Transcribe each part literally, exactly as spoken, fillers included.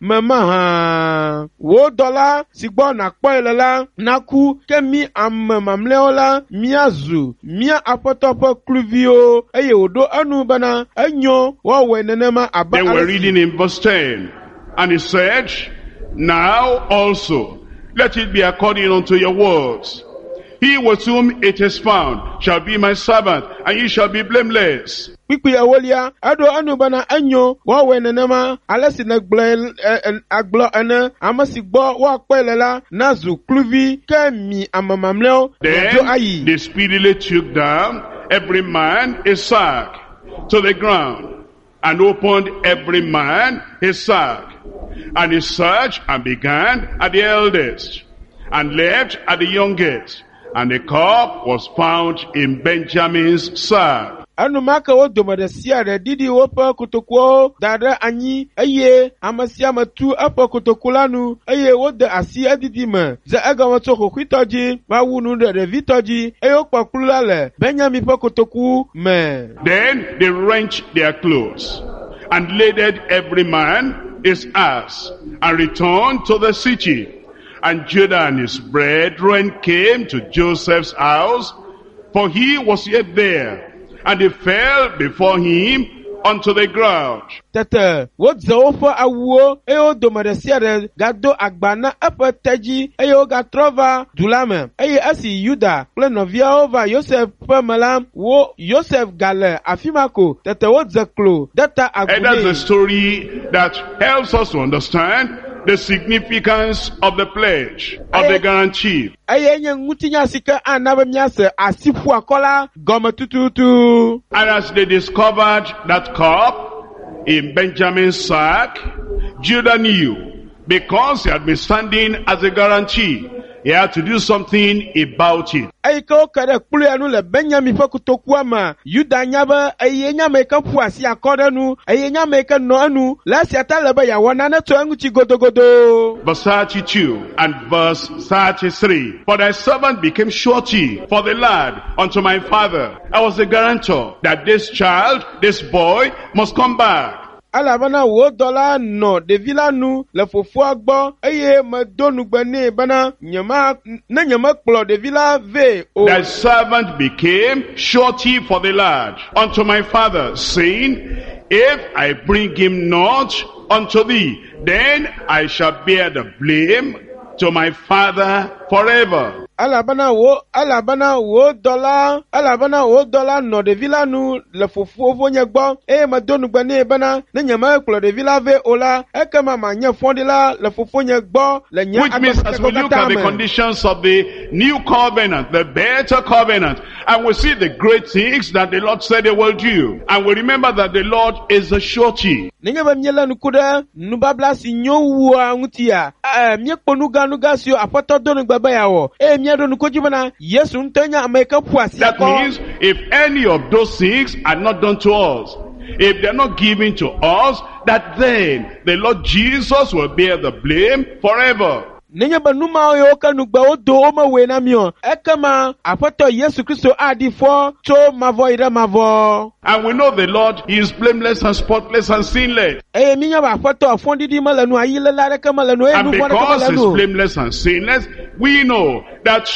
me mahã. Wò dɔla si gbɔ nàkpɔe le la naku ke mí ame mamlɛawo la míazu mía aƒetɔ ƒe kluviwo eye wòɖo enu bena enyo woawɔe nenema abe Then we're ale si reading in verse ten. And he said, Now also, let it be according unto your words. He with whom it is found shall be my servant, and ye shall be blameless. Kpukpui ewolia eɖo enu bena enyo woawɔe nenema ale si nègblɔe ɛ- ɛ- agblɔ ene ame si gbɔ woakpɔe le la nazu kluvi ke mi ame mamlɛawo miadzo Then ayi. they speedily took down every man his sack to the ground, and opened every man his sack. And he searched and began at the eldest, and left at the youngest. And the cup was found in Benjamin's sack. Enumake wo dome ɖe sia ɖe ɖiɖi woƒe kotokuwo da ɖe anyi eye ame sia ame tu eƒe kotoku la nu eye wode asi edidi me dze egɔme tso xoxoitɔ dzi va wu nu ɖe ɖevitɔ dzi eye wokpɔ kplu la le Benyamin ƒe kotoku me. Then they wrenched their clothes and laded every man his ass and returned to the city. And Judah and his brethren came to Joseph's house, for he was yet there. And they fell before him unto the ground. Tete wodze woƒe awuwo eye wo dome ɖe sia ɖe gado agba na eƒe tedzi eye wogatrɔ va du la me. Eye esi Yuda kple nɔviawo va Yosef ƒe me la, wo Yosef gale afi ma ko. Tete wodze klo de ta agu And that's the nɛ. story that helps us to understand the significance of the pledge, of the guarantee. Eye nye ŋutinya si ke ana be míase asiƒuakɔ la gɔme tututu. And as they discovered that cup in Benjamin's sack, Judah knew, because he had been standing as a guarantee, he had to do something about it. Eyi ke woke ɖe kplu ya nu le Benyamin ƒe kotokua me, Yuda nya be eye nye ame yi ke ƒu asi akɔ ɖe nu, eye nye ame yi ke nɔ enu. Le esia ta le be yeawɔ nane tso eŋuti godogodo. Verse thirty-two and verse thirty-three. For thy servant became surety for the lad unto my father. I was the guarantor that this child, this boy, must come back. Elabena wò dɔla nɔ ɖevi la nu le fofoa gbɔ eye medo nugbe nɛ bena nyema ne nyemekplɔ ɖevi la vɛ o. Thy servant became surety for the lad unto my father, saying, If I bring him not unto thee, then I shall bear the blame to my father forever. Elabena wò elabena wò dɔla elabena wò dɔla nɔ ɖevi la nu le fofonye gbɔ eye medo nugbe nɛ bena ne nyemekplɔ ɖevi la vɛ o la ekema manye fɔɖila le fofonye gbɔ le nye Which means as we agbemeŋkeke look katã at the me. conditions of the new covenant, the better covenant, and we see the great things that the Lord said he will do. And we remember that the Lord is the surety. Nenye be míelé ŋku ɖe nubabla si nyo wua ŋutia, ɛ, míekpɔ nuganuga siwo Aƒetɔ do nugbe be yeawɔ eye míaɖo ŋku edzi bena Yesu ŋutɔe nye ame yi ke ƒu asi That akɔ. means if any of those things are not done to us, if they're not given to us, that then the Lord Jesus will bear the blame forever. Nenye be nu mawo yiwo ke nugbe wodo womewɔe na mí o, ekema Aƒetɔ Yesu Kristo aɖi fɔ tso mavɔ yi ɖe mavɔ. And we know the Lord he is blameless and spotless and sinless. Eye míenya be Aƒetɔ fɔɖiɖi mele nu, ayiléle aɖeke mele nu, eye And nu vɔ̃ aɖeke because mele he's nu o. blameless and sinless, we know that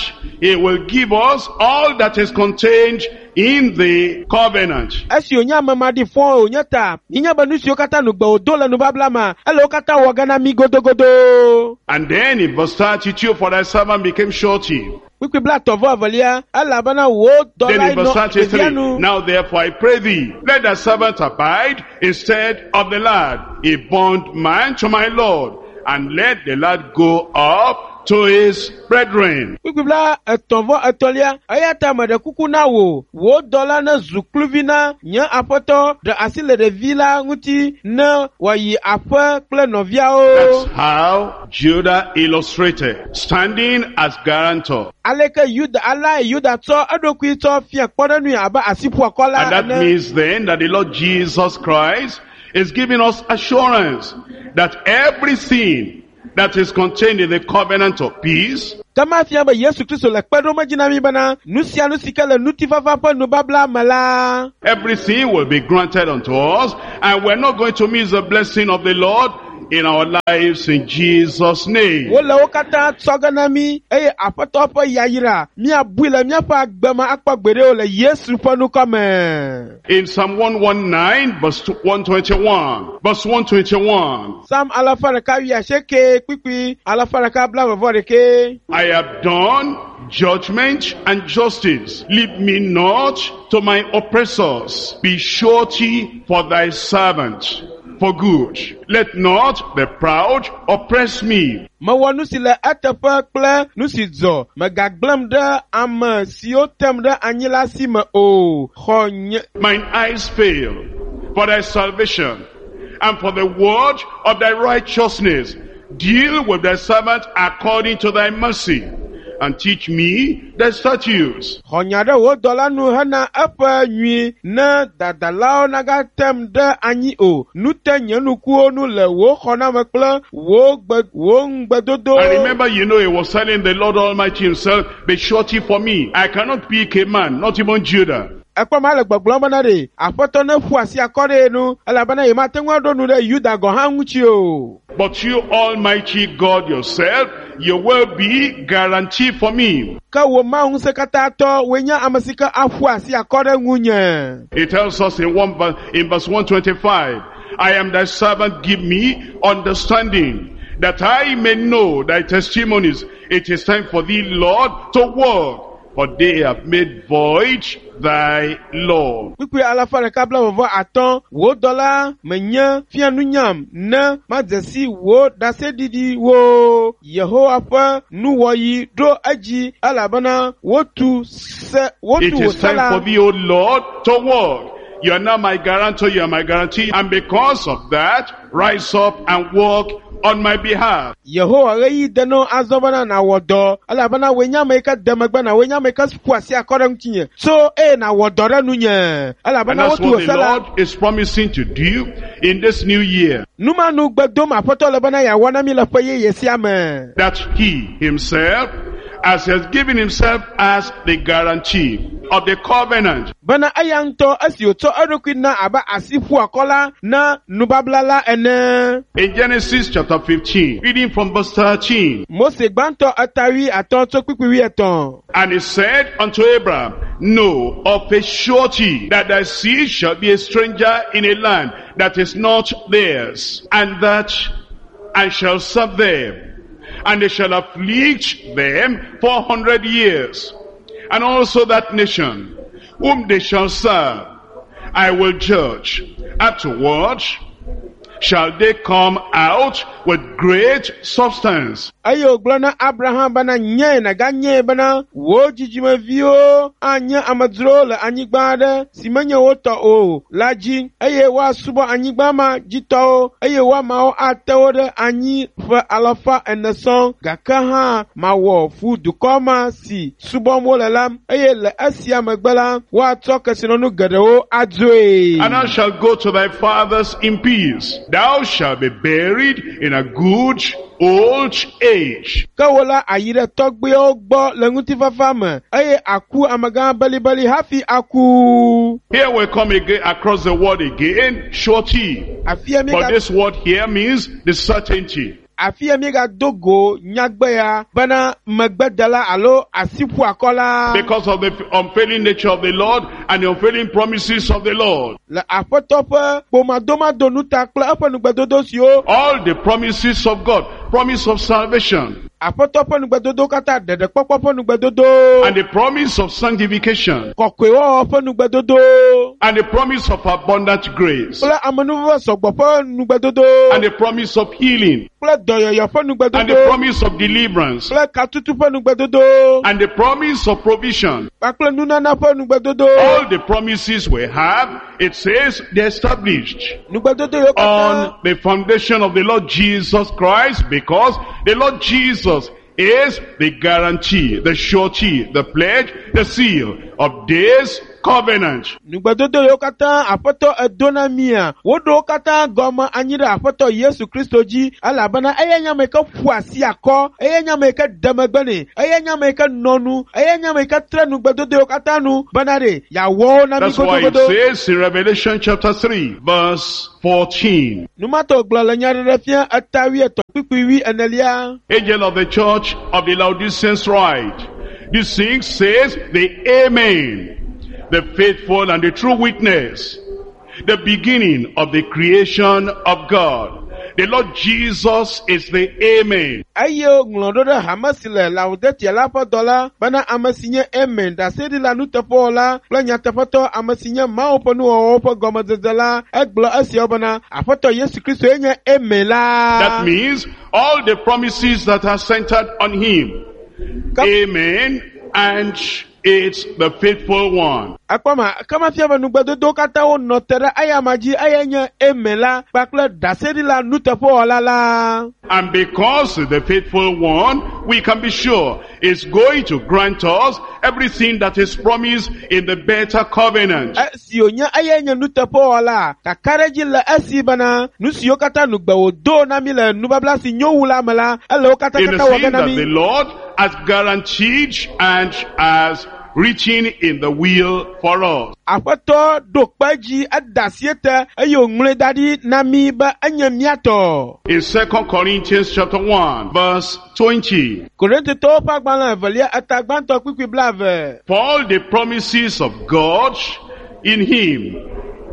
he will give us all that is contained in the covenant. Esi wònye ame maɖifɔ wònye ta, míenya be nu siwo katã nugbe wòdo le nubabla me, ele wo katã wɔ ge na mí godogodo. And then in verse thirty-two, for thy servant became surety. Kpukpui blaetɔ̃ vɔ evelia, elabena wò Then dɔlae in verse nɔ ɖevia thirty-three, nu. now therefore I pray thee, let thy servant abide instead of the lad, a bondman to my Lord, and let the lad go up to his brethren. Kpukpui blaetɔ̃ vɔ etɔ̃lia, eya ta meɖe kuku na wò, wò dɔla nezu kluvi na nye aƒetɔ, ɖe asi le ɖevi la ŋuti ne wòayi aƒe kple nɔviawo. That's how Judah illustrated, standing as guarantor. Aleke Yuda alae Yuda tsɔ eɖokui tsɔ fia kpɔɖeŋui abe asiƒuakɔla And that ene. means then that the Lord Jesus Christ is giving us assurance that everything that is contained in the covenant of peace Ke ma fia be Yesu Kristo le kpe ɖom edzi na mí bena nu sia nu si ke le ŋutifafa ƒe nubabla me la, everything will be granted unto us, and we're not going to miss the blessing of the Lord in our lives in Jesus' name. Wole wo katã tsɔ ge na mí eye Aƒetɔ ƒe yayra míabui le míaƒe agbe me akpɔ gbeɖe o le Yesu ƒe ŋkɔ me. In Psalm one nineteen, verse one twenty-one, verse one twenty-one. Psalm alafa ɖeka wuiasieke kpukpui alafa ɖeka blaeve vɔ ɖeke. I have done judgment and justice. Leave me not to my oppressors. Be surety for thy servant for good. Let not the proud oppress me. Mewɔ nu si le eteƒe kple nu si dzɔ. Mègagblẽm ɖe ame siwo tem ɖe anyi la si me o. Xɔ nye. Mine eyes fail for thy salvation and for the word of thy righteousness. Deal with thy servant according to thy mercy, and teach me thy statutes. Xɔ nya ɖe wò dɔla nu hena eƒe nyui ne dadalawo nagatem ɖe anyi o. Nu te nye nukuwo nu le wò xɔname kple wò gbe, wò ŋugbedodo. I remember, you know, he was telling the Lord Almighty himself, be surety for me. I cannot pick a man, not even Judah. Ekpɔ ma le gbɔgblɔm bena ɖe, Aƒetɔ ne ƒu asi akɔ ɖe ye nu, elabena ye mate ŋu aɖo nu ɖe Yuda gɔ̃ hã ŋuti o. But you, Almighty God yourself, you will be guarantee for me. Ke wò Mawu ŋusẽkatãtɔ, wòe nye ame si ke aƒu asi akɔ ɖe ŋunye. It tells us in one verse, in verse one twenty-five, I am thy servant, give me understanding, that I may know thy testimonies. It is time for thee, Lord, to work, for they have made void thy law. Kpukpui alafa ɖeka blaeve vɔ atɔ̃, wò dɔla menye fia nunyam ne madze si wò ɖaseɖiɖiwo. Yehowa ƒe nuwɔɣi ɖo edzi elabena wotu se, wotu It wò is se time la. for thee, O Lord, to work. You are now my guarantor, you are my guarantee, and because of that, rise up and work on my behalf. Yehowa ɣeyiɣi de na azɔ bena nàwɔ dɔ elabena wòe nye ame yi ke de megbe na wòe nye ame yi ke ƒu asi akɔ ɖe ŋutinye. So eye nàwɔ dɔ ɖe nunye And elabena that's wotu wò what the se la. Lord is promising to do in this new year. Numanu gbe dom Aƒetɔ le bena yeawɔ na mí le ƒe yeye sia me. That he himself, as he has given himself as the guarantee of the covenant, Bena eya ŋutɔ esi wòtsɔ eɖokui na abe asi ƒu akɔ la na nubabla la ene. In Genesis chapter fifteen, reading from verse thirteen. Mose gbãtɔ eta wuiatɔ̃ tso kpukpui wuietɔ̃. And he said unto Abraham, Know of a surety that thy seed shall be a stranger in a land that is not theirs, and that I shall serve them, and they shall afflict them four hundred years. And also that nation whom they shall serve, I will judge. Afterward shall they come out with great substance. Eye wògblɔ na Abraham bena nye nàganye bena wò dzidzimeviwo anye amedzrowo le anyigba aɖe si menye wo tɔ o la dzi eye woasubɔ anyigba ma dzitɔwo eye woamawo ate wo ɖe anyi ƒe alafa ene sɔŋ gake hã mawɔ fu dukɔ ma si subɔm wole la eye le esia megbe la woatsɔ kesinɔnu geɖewo adzoe. And thou shalt go to thy fathers in peace. Thou shalt be buried in a good old age. Ke wò la ayi ɖe tɔgbuiawo gbɔ le ŋutifafa me eye aku amegã belibeli hafi aku. Here we come again across the word again, surety. Afia mi But ga this word here means the certainty. afia mi ga do go nyagbe ya bena megbedela alo asiƒu akɔla. Because of the unfailing nature of the Lord and the unfailing promises of the Lord. Le Aƒetɔ ƒe kpomadomado ta kple eƒe nugbedodo siwo All the promises of God, promise of salvation, Aƒetɔ ƒe nugbedodo katã ɖeɖekpɔkpɔ ƒe nugbedodo, and the promise of sanctification, kɔkɔewɔwɔ ƒe nugbedodo, and the promise of abundant grace, kple amenuveve sɔgbɔ ƒe nugbedodo, and the promise of healing, kple dɔyɔyɔ ƒe and the nugbedodo, promise of deliverance, kple katutu ƒe nugbedodo, and the promise of provision. kpakple nunana ƒe nugbedodo. All the promises we have, it says they're established Nugbedodo yiwo katã on the foundation of the Lord Jesus Christ, because the Lord Jesus is the guarantee, the surety, the pledge, the seal of this covenant. Nugbedodo yiwo katã aƒetɔ edo na mia, woɖo wo katã gɔme anyi ɖe aƒetɔ Yesu Kristo dzi elabena eya nye ame yi ke ƒu asi akɔ, eya nye ame yi ke de megbe nɛ, eya nye ame yi ke nɔ nu, eya nye ame yi ke tre nugbedodo yiwo katã nu bena ɖe yeawɔ wo na mi That's why it godogodo. says in Revelation chapter three, verse fourteen. Numatɔ gblɔ le nyaɖeɖefia eta wuietɔ̃ kpukpui wui enelia. Angel of the church of the Laodiceans write, this thing says the Amen, the faithful and the true witness, the beginning of the creation of God. The Lord Jesus is the Amen. Eye ŋlɔ ɖo ɖe hame si le Laodicea la ƒe dɔla bena ame si nye Amen, ɖaseɖila nuteƒewɔla kple nyateƒetɔ, ame si nye Mawu ƒe nuwɔwɔwo ƒe gɔmedzedze la, egblɔ esiawo bena Aƒetɔ Yesu Kristo ye nye Amen la. That means all the promises that are centered on him. Ka- Amen, and it's the faithful one. Akpɔma ke mefia be nugbedodowo katã wonɔ te ɖe eyama dzi, eyae nye Amen la kpakple ɖaseɖila nuteƒewɔla la. And because the faithful one, we can be sure is going to grant us everything that is promised in the better covenant. Esi wònye eyae nye nuteƒewɔla, kakaɖedzi le esi bena nu siwo katã nugbe wòdo na mi le nubabla si nyo wu la me la, ele wo katã In the katã wɔ ge thing na that mi. the Lord has guaranteed and has written in the will for us. Aƒetɔ ɖo kpe dzi, eda asi ete eye wòŋlɔe da ɖi na mi be enye mía tɔ. In Second Corinthians chapter one, verse twenty. Korintotɔwo ƒe agbalẽ evelia eta gbãtɔ kpukpui blaeve. For all the promises of God in him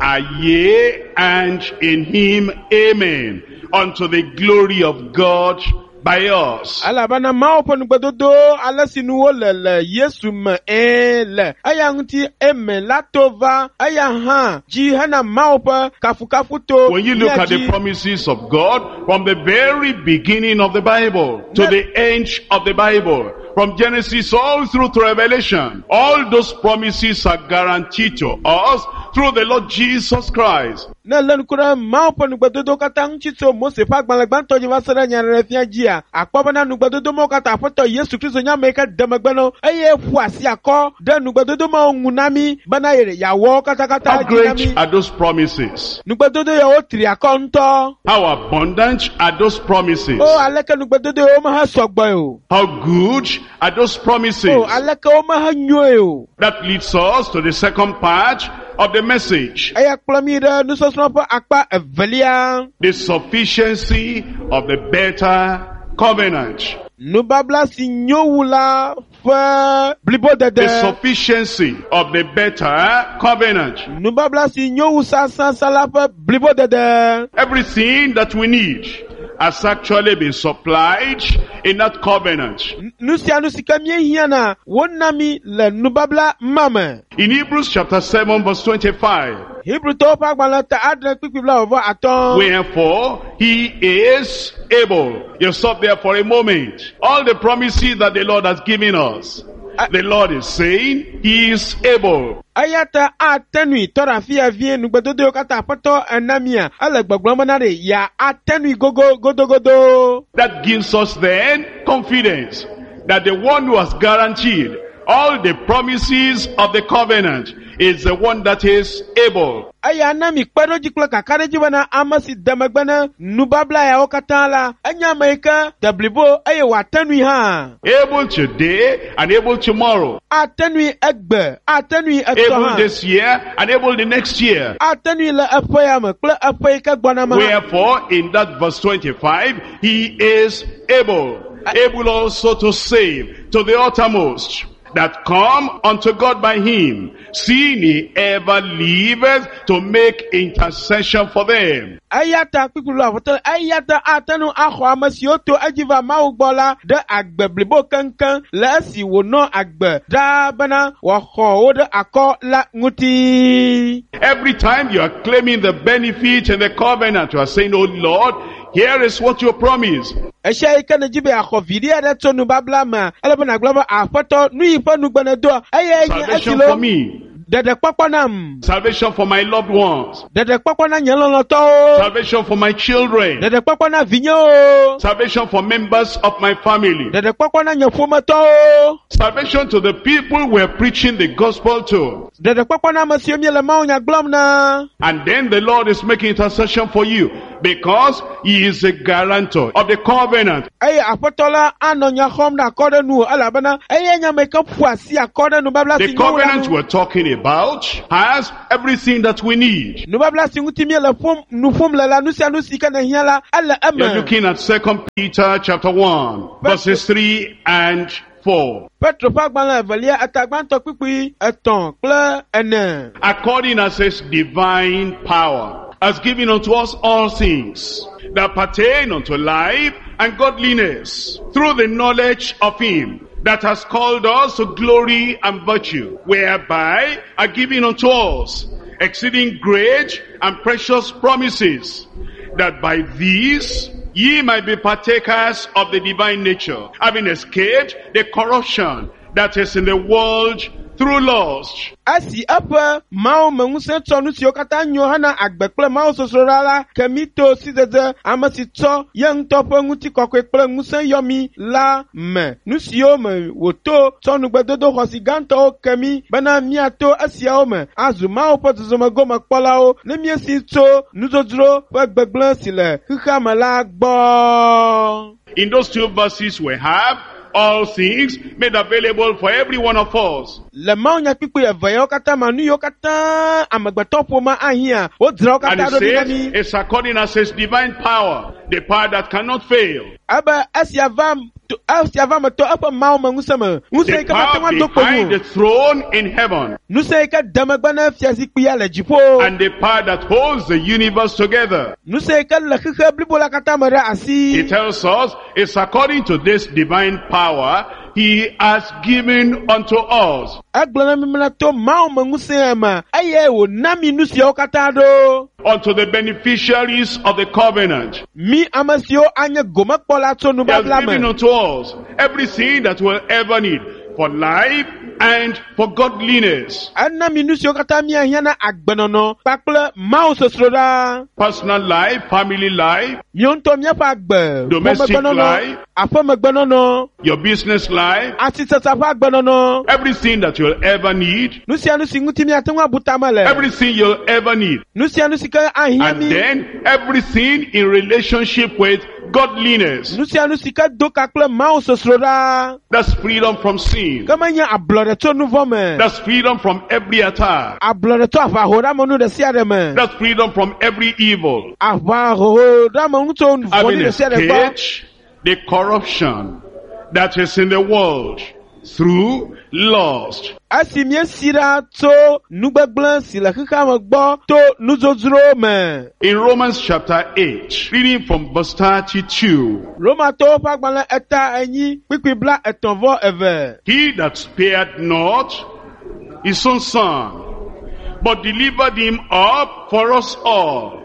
are yea, and in him amen, unto the glory of God by us. Elabena Mawu ƒe nugbedodo ale si nu wole le Yesu me ẽ le eya ŋuti amen la to va eya hã dzi hena Mawu ƒe kafukafu to When you look mía at the dzi. promises of God from the very beginning of the Bible to Ne- the end of the Bible, from Genesis all through to Revelation, all those promises are guaranteed to us through the Lord Jesus Christ. Ne lé ŋku ɖe Mawu ƒe nugbedodo katã ŋuti tso Mose ƒe agbalẽ gbãtɔ dzi va se ɖe nyaɖeɖefia dzia, akpɔ bena nugbedodo mawo katã Aƒetɔ Yesu Kristo nye ame yi ke de megbe na wo eye ƒu asi akɔ ɖe nugbedodo mawo ŋu na mí bena yeawɔ wo katakata How dzi na great mí. are those promises? Nugbedodo yawo tri akɔ ŋutɔ. How abundant are those promises? O aleke nugbedodo yawo mehe sɔgbɔe o. How good are those promises? O aleke wo mehe nyoe o. That leads us to the second part of the message. Eya kplɔ mí ɖe nusɔsrɔ̃ ƒe akpa evelia. The sufficiency of the better covenant. Nubabla si nyo wu la ƒe blibodede. The sufficiency of the better covenant. Nubabla si nyo wu sãsãsã la ƒe blibodede. Everything that we need has actually been supplied in that covenant. Nu sia nu si ke míehiãna, wona mí le nubabla ma me. In Hebrews chapter seven verse twenty-five, Hebrewtɔwo ƒe agbalẽ ta adre kpukpui blaeve atɔ̃. wherefore he is able. You stop there for a moment. All the promises that the Lord has given us, the Lord is saying he is able. Eya ta ate nui tɔ ɖe afi ya vie nugbedodo yiwo katã Aƒetɔ ena mía, ele gbɔgblɔm bena ɖe ya ate nui gogo godogodo. That gives us then confidence that the one who has guaranteed all the promises of the covenant is the one that is able. Eya na mi kpeɖodzi kple kakaɖedzi bena ame si de megbe na nubabla yawo katã la, enye ame yi ke de blibo eye wòate nui hã. Able today and able tomorrow. Ate nui egbe, ate nui etɔ Able hã. this year and able the next year. Ate nui le eƒe ya me kple eƒe yi ke gbɔna me hã. Wherefore, in that verse twenty-five, he is able, able also to save to the uttermost that come unto God by him, seeing he ever liveth to make intercession for them. Eya ta kpukpui blaeve eya ta ate ŋu axɔ ame siwo to edzi va Mawu gbɔ la ɖe agbe blibo keŋkeŋ le esi wònɔ agbe ɖaa bena wòaxɔ wo ɖe akɔ la ŋuti. Every time you are claiming the benefit in the covenant, you are saying, Oh Lord, here is what you promised. Esia yi ke nèdzi be yeaxɔ viɖe aɖe tso nubabla mea, ele be nàgblɔ be Aƒetɔ, nu yi ƒe nugbe nèdoa, eyae nye esi Salvation lo for me, Ɖeɖekpɔkpɔ nam. Salvation for my loved ones. Ɖeɖekpɔkpɔ na nye lɔlɔ̃tɔwo. Salvation for my children. Ɖeɖekpɔkpɔ na vinyewo. Salvation for members of my family. Ɖeɖekpɔkpɔ na nye ƒometɔwo. Salvation to the people we're preaching the gospel to. Ɖeɖekpɔkpɔ na ame siwo míele mawunya gblɔm na. And then the Lord is making intercession for you because he is a guarantor of the covenant. Eye aƒetɔ la anɔ nya xɔm ɖe akɔ ɖe nu elabena eye nye ame yi ke ƒo asi akɔ ɖe nubabla The si nyo la covenant ŋu. we're talking about has everything that we need. Nubabla si ŋuti míele ƒom nu ƒom le la, nu sia nu si ke nèhiã la, ele You're eme. looking at Second Peter chapter one, verses three and four. Petro ƒe agbalẽ evelia eta gbãtɔ kpukpui etɔ̃ kple ene. According as his divine power has given unto us all things that pertain unto life and godliness through the knowledge of him that has called us to glory and virtue, whereby are given unto us exceeding great and precious promises, that by these ye might be partakers of the divine nature, having escaped the corruption that is in the world through lust. Esi eƒe Mawu me ŋusẽ tsɔ nu siwo katã nyo hena agbe kple Mawu sosroɖa la ke mí to sidzedze ame si tsɔ ye ŋutɔ ƒe ŋutikɔkɔe kple ŋusẽ yɔ mí la me. Nu siwo me wòto tsɔ nugbedodo xɔasi gãtɔwo ke mí bena míato esiawo me azu Mawu ƒe zɔzɔme gomekpɔlawo ne míesi tso nudzodzro ƒe gbegblẽ si le xexea me la gbɔ. In those two verses we have all things made available for every one of us. Le mawunyakpukpui eve yawo katã me, nu yiwo katã amegbetɔ ƒomea ahiã, wodzra wo And katã it ɖo ɖi na says, mí. it's according as his divine power, the power that cannot fail, Ebe esia va to esia va me to eƒe Mawu me ŋusẽ me. Ŋusẽ the yi ke mate ŋu power ado kpo behind nu. the throne in heaven, Ŋusẽ yi ke de megbe na fiazikpuia le dziƒo. and the power that holds the universe together. Ŋusẽ yi ke le xexe blibo la katã me ɖe asi. He tells us it's according to this divine power he has given unto us. Egblɔ na mi bena to Mawu me ŋusẽ me eye wòna mi nu siawo katã ɖo. Unto the beneficiaries of the covenant. Mi ame siwo anye gomekpɔla tso He has nubabla given me. unto us everything that we'll ever need for life and for godliness. Ena mi nu siwo katã míahiã na agbenɔnɔ kpakple Mawu sosroɖa. Personal life, family life, Míawo ŋutɔ míaƒe agbe, Domestic ƒomegbenɔnɔ, life. aƒemegbenɔnɔ, your business life, asisasa ƒe agbenɔnɔ, everything that you'll ever need, nu sia nu si ŋuti míate ŋu abu tame le, everything you'll ever need. nu sia nu si ke ahiã And mí, then everything in relationship with godliness. nu sia nu si ke do ka kple Mawu sosroɖa, That's freedom from sin. ke menye ablɔɖe tso nu vɔ̃ me, That's freedom from every attack. ablɔɖe tso aʋahoɖeamenu ɖe sia ɖe me, That's freedom from every evil. aʋahoɖeamenu tso Having vɔ̃ɖi ɖe sia ɖe gbɔ. escaped the corruption that is in the world through lust. Esi míesi ɖa tso nugbegblẽ si le xexea me gbɔ to nudzodzro me. In Romans chapter eight, reading from verse thirty-two, Romatɔwo ƒe agbalẽ eta enyi kpukpui bla etɔ̃ vɔ eve. He that spared not his own son, but delivered him up for us all,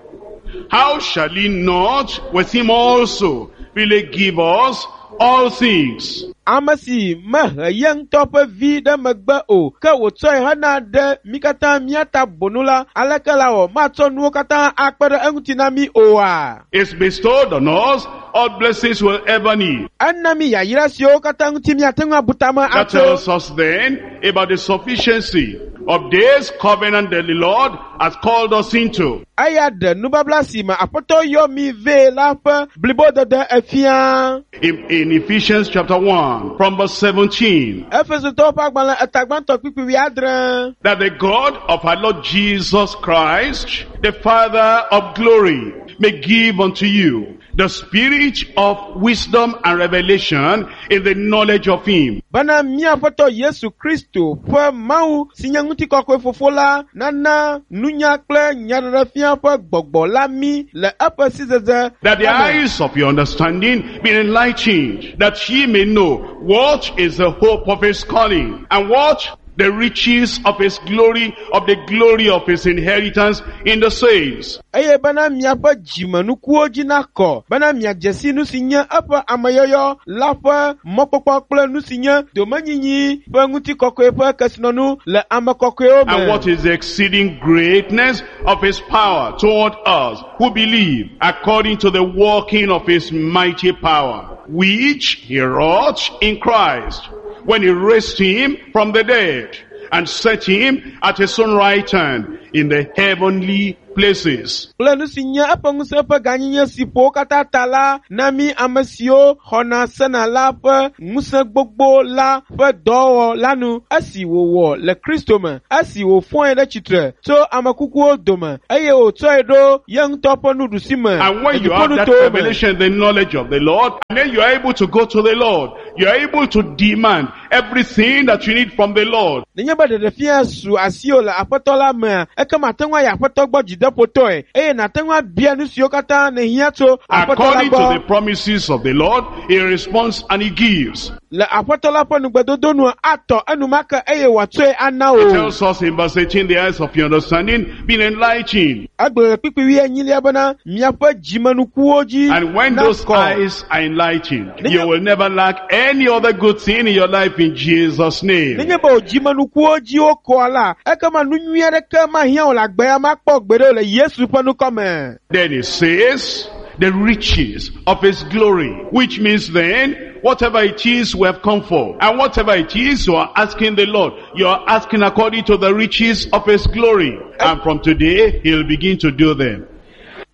how shall he not with him also really give us all things? Ame si mehe ye ŋutɔ ƒe vi ɖe megbe o, ke wòtsɔe hena ɖe mí katã mía ta bonu la, aleke la wɔ matsɔ nuwo katã akpe ɖe eŋuti na mí oa? It's bestowed on us all blessings we'll ever need. Ena mí yayra siwo katã ŋuti míate ŋu abu tame That atso. tells us then about the sufficiency of this covenant that the Lord has called us into. Eya ɖe nubabla si me Aƒetɔ yɔ mí vɛ la ƒe blibodede efia. In, in Ephesians chapter one, from verse seventeen, Efesotɔwo ƒe agbalẽ eta gbãtɔ kpukpui wuiadre. that the God of our Lord Jesus Christ, the Father of glory, may give unto you the spirit of wisdom and revelation in the knowledge of him. Bena mía Aƒetɔ Yesu Kristo ƒe Mawu si nye ŋutikɔkɔe fofo la nana nunya kple nyaɖeɖefia ƒe gbɔgbɔ la mí le eƒe sidzedze That the me. eyes of your understanding be enlightened, that ye may know what is the hope of his calling, and what The riches of his glory, of the glory of his inheritance in the saints. Eye bena miaƒe dzimenukuwo dzi nakɔ bena miadze si nu si nye eƒe ameyɔyɔ la ƒe mɔkpɔkpɔ kple nu si nye domenyinyi ƒe ŋutikɔkɔe ƒe kesinɔnu le ame kɔkɔewo And what me. is the exceeding greatness of his power toward us who believe, according to the working of his mighty power, which he wrought in Christ, when he raised him from the dead and set him at his own right hand in the heavenly places. Kple nu si nye eƒe ŋusẽ ƒe gãnyenye si ƒo wo katã ta la na mí ame siwo xɔna sena la ƒe ŋusẽ gbogbo la ƒe dɔwɔwɔ la nu esi wòwɔ le Kristo me, esi wòfɔe ɖe tsitre tso ame kukuwo dome eye wòtsɔe ɖo ye ŋutɔ ƒe nuɖusi me And when le you have that dziƒonutowo me. revelation, the knowledge of the Lord, and then you are able to go to the Lord. You are able to demand everything that you need from the Lord. Nenye be ɖeɖefia su asiwò le Aƒetɔ la mea, ekema ate ŋu ayi Aƒetɔ gbɔ dzideƒotɔe eye nàte ŋu abia nu siwo katã nèhiã tso Aƒetɔ la According to gbɔ. the promises of the Lord, he responds and he gives. Le Aƒetɔ la ƒe nugbedodo nua, atɔ enumake eye wòatsɔe ana He wò. tells us in verse eighteen, the eyes of your understanding being enlightened. Egblɔ le kpukpui wuienyilia bena miaƒe dzimenukuwo dzi And when those nakɔ. eyes are enlightened, you will never lack any other good thing in your life in Jesus' name. Nenye be wò dzimenukuwo dzi wokɔa la, ekema nu nyui aɖeke mahiã wò le agbe ya makpɔ gbeɖe o le Yesu ƒe ŋkɔ me. Then he says, the riches of his glory, which means then, whatever it is we have come for, and whatever it is you are asking the Lord, you are asking according to the riches of his glory. And from today, he'll begin to do them.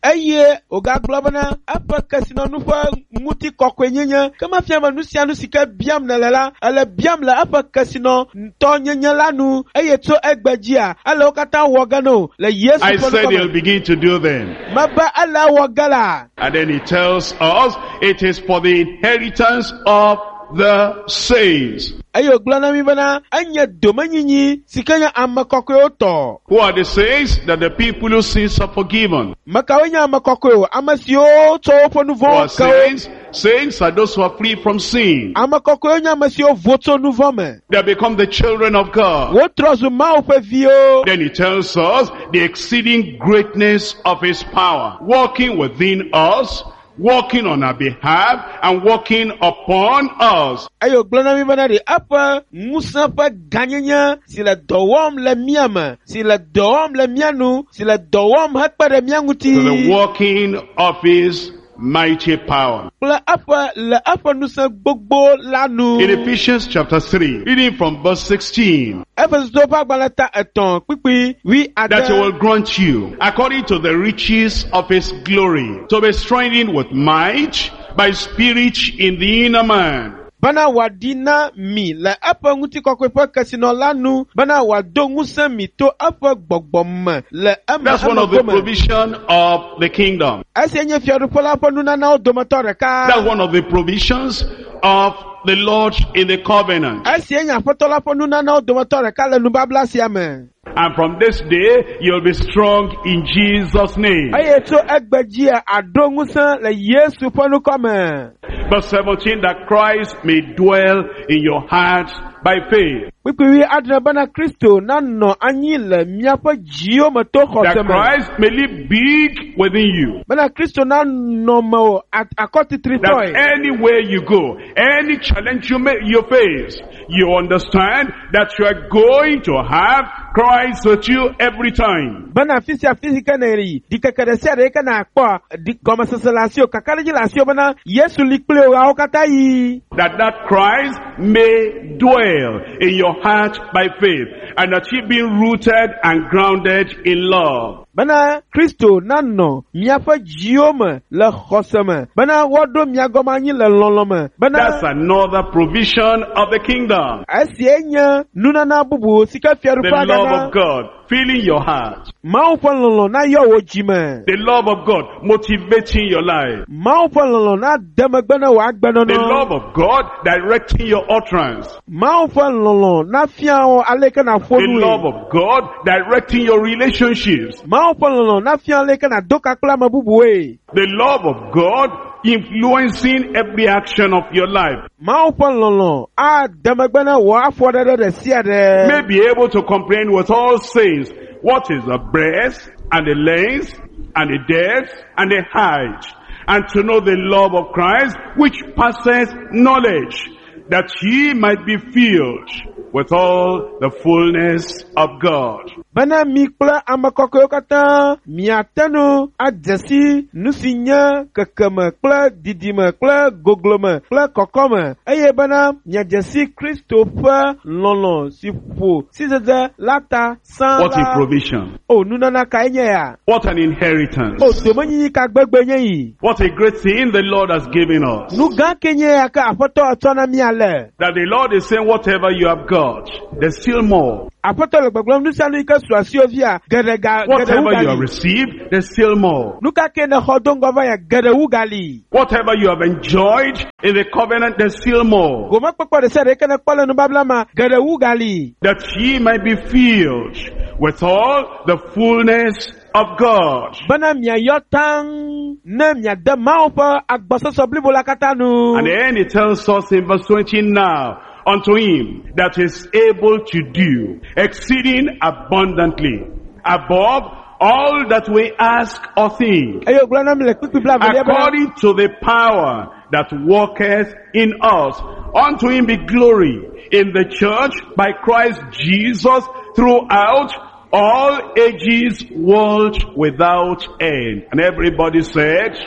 Eye wògagblɔ bena eƒe kesinɔnu ƒe ŋutikɔkɔenyenye ke mefia be nu sia nu si ke biam nèle la, ele biam le eƒe kesinɔtɔnyenye la nu eye tso egbe dzia, ele wo katã wɔ ge na wò le Yesu I ƒe said ŋkɔ he'll me. begin to do them. Mebe ele wɔ ge la. And then he tells us it is for the inheritance of the saints. Eye wògblɔ na mí bena enye domenyinyi si ke nye ame kɔkɔewo tɔ. Who are the saints? That the people whose sins are forgiven. Me kawoe nye ame kɔkɔewo? Ame siwo tsɔ woƒe nu Who are vɔ̃wo ke wo. saints? Saints are those who are free from sin. Ame kɔkɔewo nye ame siwo vo tso nu vɔ̃ me. They have become the children of God. Wotrɔ zu Mawu ƒe viwo. Then he tells us the exceeding greatness of his power, working within us, working on our behalf, and working upon us. Eye wògblɔ na mí bena ɖe eƒe ŋusẽ ƒe gãnyenye si le dɔ wɔm le mía me, si le dɔ wɔm le mía nu, si le dɔ wɔm hekpe ɖe mía ŋuti To the working of his mighty power. kple eƒe le eƒe ŋusẽ gbogbo la nu. In Ephesians chapter three, reading from verse sixteen, Efesotɔwo ƒe agbalẽ ta etɔ̃ kpukpui wui that he ade. will grant you, according to the riches of his glory, to be strengthened with might by spirit in the inner man, Bena wòaɖi na mi le eƒe ŋutikɔkɔe ƒe kesinɔ la nu, bena wòado ŋusẽ mi to eƒe gbɔgbɔ me le eme That's one of the eme gome. provision of the kingdom. Esia nye fiaɖuƒe la ƒe nunanawo dometɔ ɖeka. That's one of the provisions of the Lord in the covenant. Esia nye Aƒetɔ la ƒe nunanawo dometɔ ɖeka le nubabla sia me. And from this day, you'll be strong in Jesus' name. Eye tso egbe dzia, aɖo ŋusẽ le Yesu ƒe ŋkɔ me. Verse seventeen, that Christ may dwell in your hearts by faith. Kpukpui wui adre bena Kristo nanɔ anyi le miaƒe dziwo me to That xɔse me. Christ may live big within you. Bena Kristo nanɔ mewò That akɔtitritɔe. anywhere you go, any challenge you may you face, you understand that you are going to have Christ with you every time. Bena afi sia afi si ke nèyi, ɖikeke ɖe sia ɖe yi ke nàkpɔa, ɖi gɔmesese le asiwò, kakaɖedzi le asiwò bena Yesu li kpli wò ɣeawo katã yi. That that Christ may dwell in your heart by faith, and that ye being rooted and grounded in love. Bena Kristo nanɔ miaƒe dziwo me le xɔse me. Bena woaɖo mia gɔme anyi le lɔlɔ̃ me. Bena That's another provision of the kingdom. esia nye nunana bubu si ke The fiaɖuƒea love gana. of God filling your heart. Mawu ƒe lɔlɔ̃ nayɔ wò dzime. The love of God motivating your life. Mawu ƒe lɔlɔ̃ nade megbe ne wò The agbenɔnɔ. love of God directing your utterance. Mawu ƒe lɔlɔ̃ nafia wò aleke nàƒo The love nue. of God directing your relationships. Mawu ƒe lɔlɔ̃ nafia aleke nàdo ka kple ame bubuwoe. The love of God influencing every action of your life. Mawu ƒe lɔlɔ ade megbe na wò afɔɖeɖe ɖe sia ɖe. May be able to comprehend with all saints what is the breadth and the length and the depth and the height, and to know the love of Christ which passeth knowledge, that ye might be filled with all the fullness of God. Bena mi kple ame kɔkɔewo katã miate nu adze si nu si nye kekeme kple didime kple goglome kple kɔkɔme eye bena miadze si Kristo ƒe lɔlɔ si ƒo sidzedze la ta sã What a la. provision. O nunana kae nye ya? What an inheritance. O domenyinyi ka gbegbe nye yi? What a great thing the Lord has given us. Nu gã ke nye ya ke Aƒetɔ etsɔ na mí ale? That the Lord is saying whatever you have got, there's still more. Aƒetɔ le gbɔgblɔm nu sia nu yi ke su asiwò fia, geɖe ga geɖe wu Whatever you have gali. received, there's still more. Nu ka ke nèxɔ do ŋgɔ va ya, geɖe wu gali. Whatever you have enjoyed in the covenant, there's still more. Gomekpɔkpɔ ɖe sia ɖe yi ke nèkpɔ le nubabla ma, geɖe wu gali. That ye might be filled with all the fullness of God. Bena miayɔ taŋ ne miade Mawu ƒe agbɔsɔsɔ blibo la katã nu. And then it tells us in verse twenty now, unto him that is able to do exceeding abundantly above all that we ask or think, Eye wògblɔ na mi le kpukpui blaevelia bena, according to the power that worketh in us. Unto him be glory in the church by Christ Jesus throughout all ages, world without end. And everybody said,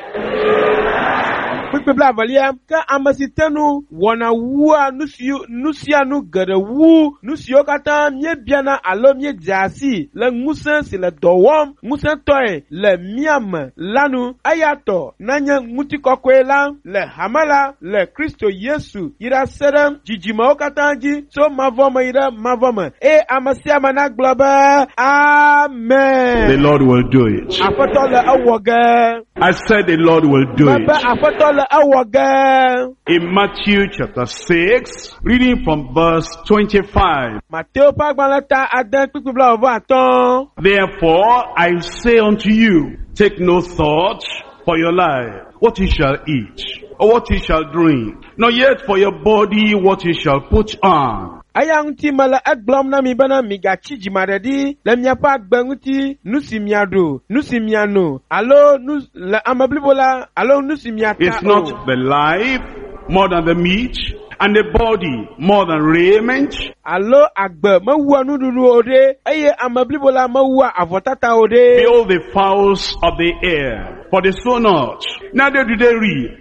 kpukpui blaevelia, ke ame si te nu wɔna wua nu si nu sia nu geɖe wu nu siwo katã míebiana alo míedzea si le ŋusẽ si le dɔ wɔm ŋusẽtɔe le mía me la nu. Eya tɔ nanye ŋutikɔkɔe la le hame la le Kristo Yesu yi ɖase ɖe dzidzimewo katã dzi tso mavɔ me yi ɖe mavɔ me. Eye ame sia ame nagblɔ be the Amen. Lord will do it. Aƒetɔ le ewɔ ge. I said the Lord will do Mebe it. aƒetɔ le ewɔ ge. In Matthew chapter six, reading from verse twenty-five. Mateo ƒe agbalẽ ta ade kpukpui blaeve atɔ̃. Therefore I say unto you, take no thought for your life, what ye shall eat, or what ye shall drink, nor yet for your body what ye shall put on. Eya ŋuti mele egblɔm na mi bena migatsi dzimaɖeɖi le miaƒe agbe ŋuti, nu si miaɖu, nu si miano, alo nu le ame blibo la, alo nu si miata Is o. not the life more than the meat, and the body more than raiment? Alo agbe mewua nuɖuɖu o ɖe, eye ame blibo la mewua avɔtata o ɖe. Behold the fowls of the air, for they sow not, neither do they reap,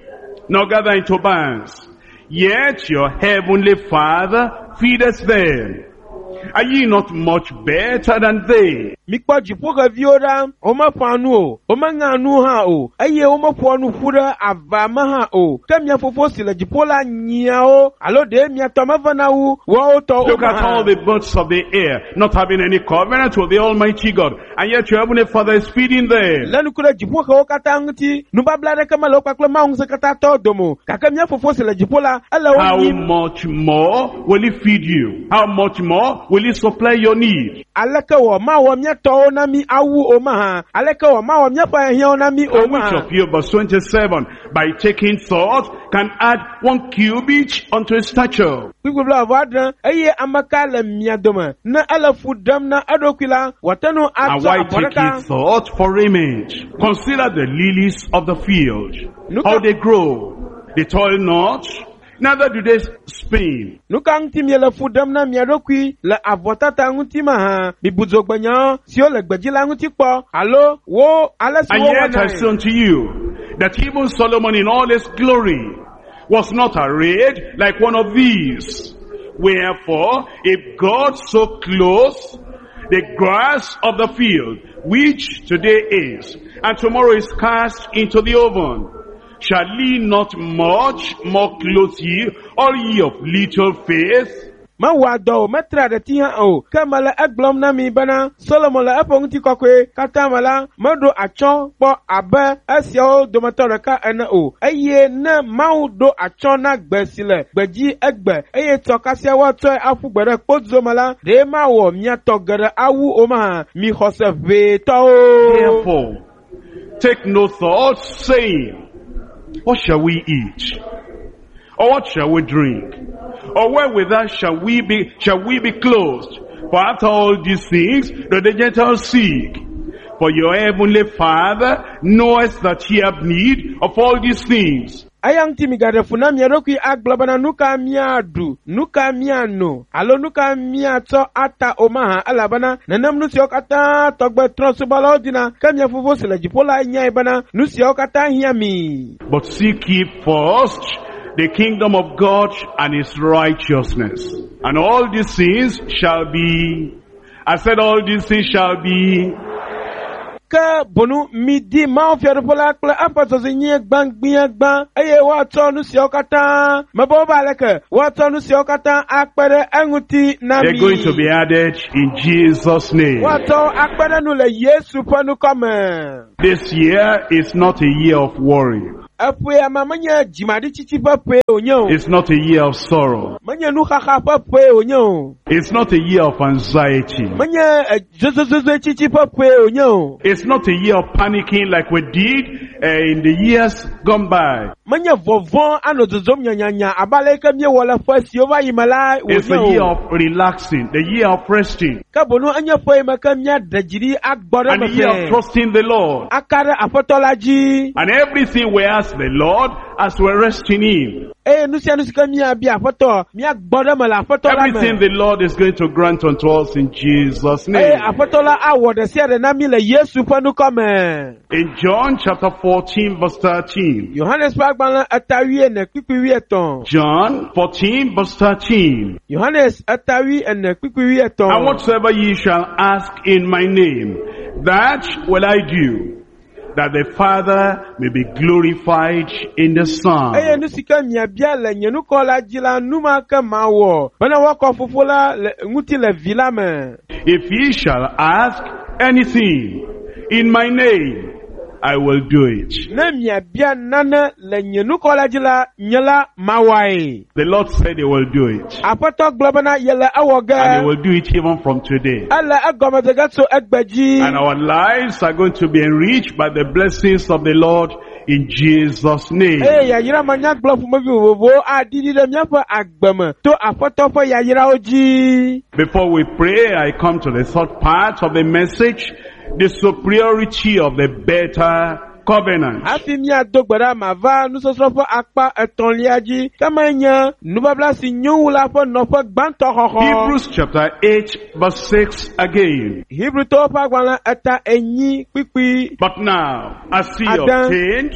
nor gather into barns. Yet your heavenly Father feedeth them. Are ye not much better than they? Mikpɔ dziƒoxeviwo ɖa, womeƒã nu o, womeŋea nu hã o, eye womeƒoa nu ƒu ɖe ava me hã o. Ke mia fofo si le dziƒo la nyia wo, alo ɖe mia tɔ mevena wu woawo tɔ o Look at all hã. the birds of the air, not having any covenant with the Almighty God, and yet your heavenly Father is feeding them. Lé ŋku ɖe dziƒoxewo katã ŋuti, nubabla aɖeke mele wo kpakple Mawu ŋusẽkatãtɔ dome o. Gake mía fofo si le dziƒo la, ele wo How nyim. much more will he feed you? How much more will he supply your need? Aleke wɔ mawɔ mía tɔwo na mí awu o mahã? Aleke wɔ mawɔ míaƒe hiãwo na mí o And which mahã? of you, verse twenty-seven, by taking thought, can add one cubit unto his stature? Kpukpui blaeve adre, eye ame ka le mia dome ne ele fu ɖem na eɖokui la, wòate ŋu And atsɔ why abɔ take ɖeka. ye thought for raiment? Consider the lilies of the field, Look how at- they grow. They toil not, neither do they spin. Nu ka ŋuti miele fu ɖem na mia ɖokui le avɔtata ŋuti mahã? Mibu dzogbenyawo siwo le gbedzi la ŋuti kpɔ alo wo ale si And yet I wowɔnae. say unto you, that even Solomon in all his glory was not arrayed like one of these. Wherefore, if God so clothes the grass of the field, which today is, and tomorrow is cast into the oven, shall he not much more clothe ye, all ye of little faith? Mewɔa dɔ o, metrea ɖeti hã o. Ke mele egblɔm na mi bena Solomon le eƒe ŋutikɔkɔe katã me la, meɖo atsyɔ̃ kpɔ abe esiawo dometɔ ɖeka ene o. Eye ne Mawu ɖo atsyɔ̃ na gbe si le gbedzi egbe eye tsɔ kasia woatsɔe aƒu gbe ɖe kpodzo me la, ɖe mawɔ mia tɔ geɖe awu o mahã? Mi xɔse ʋɛtɔwo. Therefore, take no thought, saying, What shall we eat? Or what shall we drink? Or wherewithal shall we be, shall we be clothed? For after all these things do the Gentiles seek. For your heavenly Father knoweth that ye have need of all these things. Eya ŋuti migaɖe fu na mia ɖokui agblɔ bena nu ka míaɖu, nu ka míano alo nu ka míatsɔ ata o mahã elabena nenem nu siawo katã tɔgbe trɔ̃subɔlawo dina ke mia fofo si le dziƒo la nyae bena nu siawo katã hiã mi. But seek ye first the kingdom of God and his righteousness. And all these things shall be, I said all these things shall be, Ke bonu midi Mawu fiaɖuƒe la kple eƒe dzɔdzɔenyenye gbãgbiagbã eye woatsɔ nu siawo katã mebe wobe aleke woatsɔ nu siawo katã akpe ɖe eŋuti na they're mi. going to be added in Jesus' name. Woatsɔ akpe ɖe nu le Yesu ƒe ŋkɔ me. This year is not a year of worry. Eƒea ma menye dzimaɖitsitsi ƒe ƒee wònye o. It's not a year of sorrow. Menye nuxaxa ƒe ƒee wònye o. It's not a year of anxiety. Menye eh, zozozozoetsitsi ƒe ƒee wònye o. It's not a year of panicking like we did uh, in the years gone by. Menye vɔvɔ̃ anɔ dzodzom nyanyanya abe ale yi ke míewɔ le ƒe siwo va yi me la It's a wònye year o. of relaxing, the year of resting, Ke bonu enye ƒe yi me ke míaɖe dzi ɖi agbɔ ɖe and eme the year of fɛɛ. trusting the Lord. Aka ɖe Aƒetɔ la dzi. And everything we ask the Lord as we rest in Him. Eye nu sia nu si ke míabia Aƒetɔ, míagbɔ ɖe eme le Aƒetɔ la Everything me. the Lord is going to grant unto us in Jesus' Eye name. Aƒetɔ la awɔ ɖe sia ɖe na mí le Yesu ƒe ŋkɔ me. In John chapter fourteen verse thirteen. Yohanes ƒe agbalẽ eta wuiene kpukpui wuietɔ̃. John fourteen verse thirteen. Yohanes eta wuiene kpukpui wuietɔ̃. And whatsoever ye shall ask in my name, that will I do, that the Father may be glorified in the Eye Son. nu si ke miabia le nye ŋkɔ la dzi la, nu ma ke mawɔ bena woakɔ Fofo la le ŋuti le Vi la me. If ye shall ask anything in my name, I will do it. Ne miabia nane le nye ŋkɔ la dzi la, nye la mawɔe. The Lord said he will do it. Aƒetɔ gblɔ bena yele ewɔ ge. And he will do it even from today. Ele egɔme dze ge tso egbe dzi. And our lives are going to be enriched by the blessings of the Lord in Jesus' name. Eye yayra manyagblɔ ƒomevi vovovowo aɖiɖi ɖe míaƒe agbe me to Aƒetɔ ƒe yayrawo dzi. Before we pray, I come to the third part of the message, the superiority of the better covenant. Hafi míado gbe ɖa mava nusɔsrɔ̃ ƒe akpa etɔ̃lia dzi, ke menye nubabla si nyo wu la ƒe nɔƒe gbãtɔ xɔxɔ. Hebrews chapter eight verse six again. Hebrewtɔwo ƒe agbalẽ eta enyi kpukpui But now, as he Adam. obtained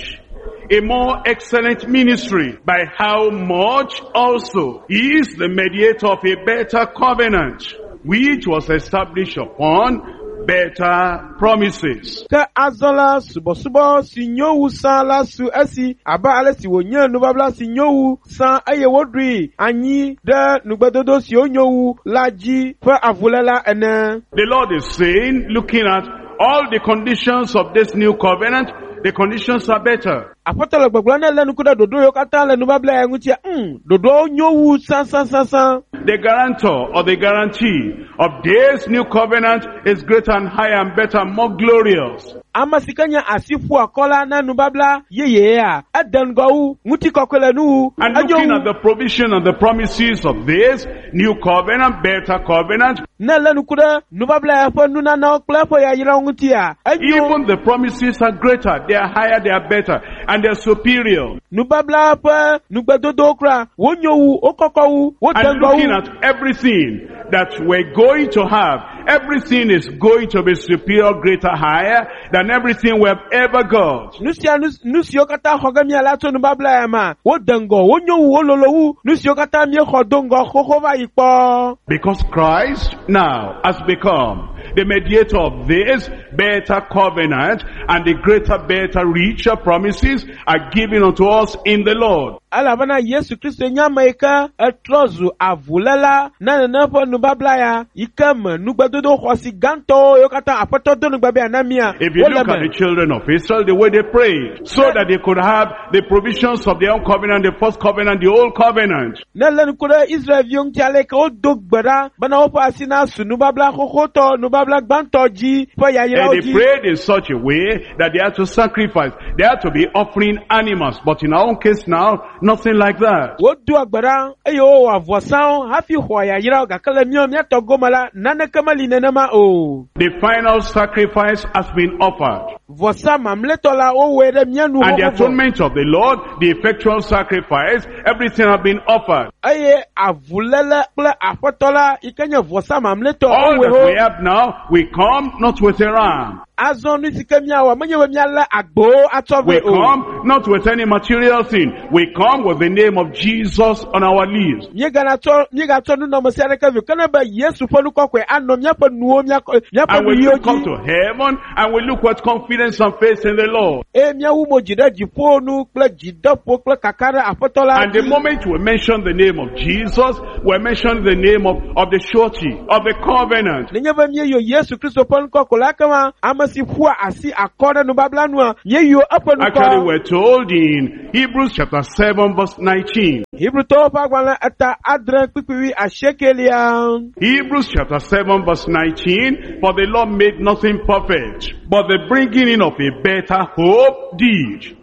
a more excellent ministry, by how much also he is the mediator of a better covenant, which was established upon better promises. Ke azɔ la subɔsubɔ si nyo wu sã la su esi abe ale si wònye nubabla si nyo wu sã eye woɖoe anyi ɖe nugbedodo siwo nyo wu la dzi ƒe avuléla ene. The Lord is saying, looking at all the conditions of this new covenant, the conditions are better. Aƒetɔ le gbɔgblɔm ne lé ŋku ɖe ɖoɖo yiwo katã le nubabla ya ŋutia, ŋ, ɖoɖoawo nyo wu sãsãsãsã. The guarantor or the guarantee of this new covenant is greater and higher and better and more glorious. Ame si ke nye asi ƒu akɔ la na nubabla yeyea, ede ŋgɔ wu, ŋutikɔkɔe le nu wu, And enyo looking wu. at the provision and the promises of this new covenant, better covenant, Ne lé ŋku ɖe nubabla ya ƒe nunanawo kple eƒe yayrawo ŋutia, enyo. even the promises are greater, they are higher, they are better, and they are superior. Nubabla ƒe nugbedodowo kura, wonyo wu, wokɔkɔ wu, wode And ŋgɔ looking wu. at everything that we're going to have, everything is going to be superior, greater, higher than everything we have ever got. Nu sia nu nu siwo katã xɔ ge míala tso nubabla ya mea, wode ŋgɔ, wonyo wu, wololo wu nu siwo katã míexɔ do ŋgɔ xoxo va yi kpɔ. Because Christ now has become the mediator of this better covenant, and the greater, better, richer promises are given unto us in the Lord. Elabena Yesu Kristo nye ame yi ke etrɔ zu avuléla na nene ƒe nubabla ya yi ke me nugbedodo xɔasi gãtɔwo yiwo katã Aƒetɔ do nugbe be yeana mía If you wole look at me. the children of Israel, the way they prayed, so that they could have the provisions of their own covenant, the first covenant, the old covenant. Ne lé ŋku ɖe Israelviwo ŋuti ale yi ke wodo gbe ɖa bena woƒe asi nasu nubabla xoxotɔ, nubabla gbãtɔ dzi ƒe yayrawo And they dzi. prayed in such a way that they had to sacrifice. They had to be offering animals. But in our own case now, nothing like that. Wodoa gbe ɖa eye wowɔ avɔsawo hafi xɔa yayrawo gake le míawo míatɔ gome la, naneke meli nenema o. The final sacrifice has been offered. Vɔsa mamlɛtɔ la wowɔe ɖe mía nu And the xoxo vɔ. atonement of the Lord, the effectual sacrifice, everything has been offered. Eye avuléle kple aƒetɔ la yi ke nye vɔsa mamlɛtɔ All wowɔe that ho. we have now, we come not with a ram. Azɔ nu si ke míawɔ menye be míalé agbowo atsɔ We vɛ o. come not with any material thing. We come with the name of Jesus on our lips. Míegana tsɔ míegatsɔ nunɔamesi aɖeke vɛ o. Ke ne be Yesu ƒe nukɔkɔe anɔ míaƒe nuwo míakɔ míaƒe And we nuyiwo look up dzi to heaven and we look with confidence and faith in the Lord. eye míawu mo dzi ɖe dziƒo nu kple dzideƒo kple kaka ɖe Aƒetɔ la And the dzi. moment we mention the name of Jesus, we mention the name of, of the surety, of the covenant. Nenye be míeyɔ Yesu Kristo ƒe ŋkɔ ko la ekema ame si ƒua asi akɔ ɖe nubabla nua, míeyɔ eƒe Actually, ŋkɔ. we're told in Hebrews chapter seven verse nineteen. Hebrewtɔwo ƒe agbalẽ eta adre kpukpui wui asiekelia. Hebrews chapter seven verse nineteen, for the Lord made nothing perfect, but the bringing in of a better hope did,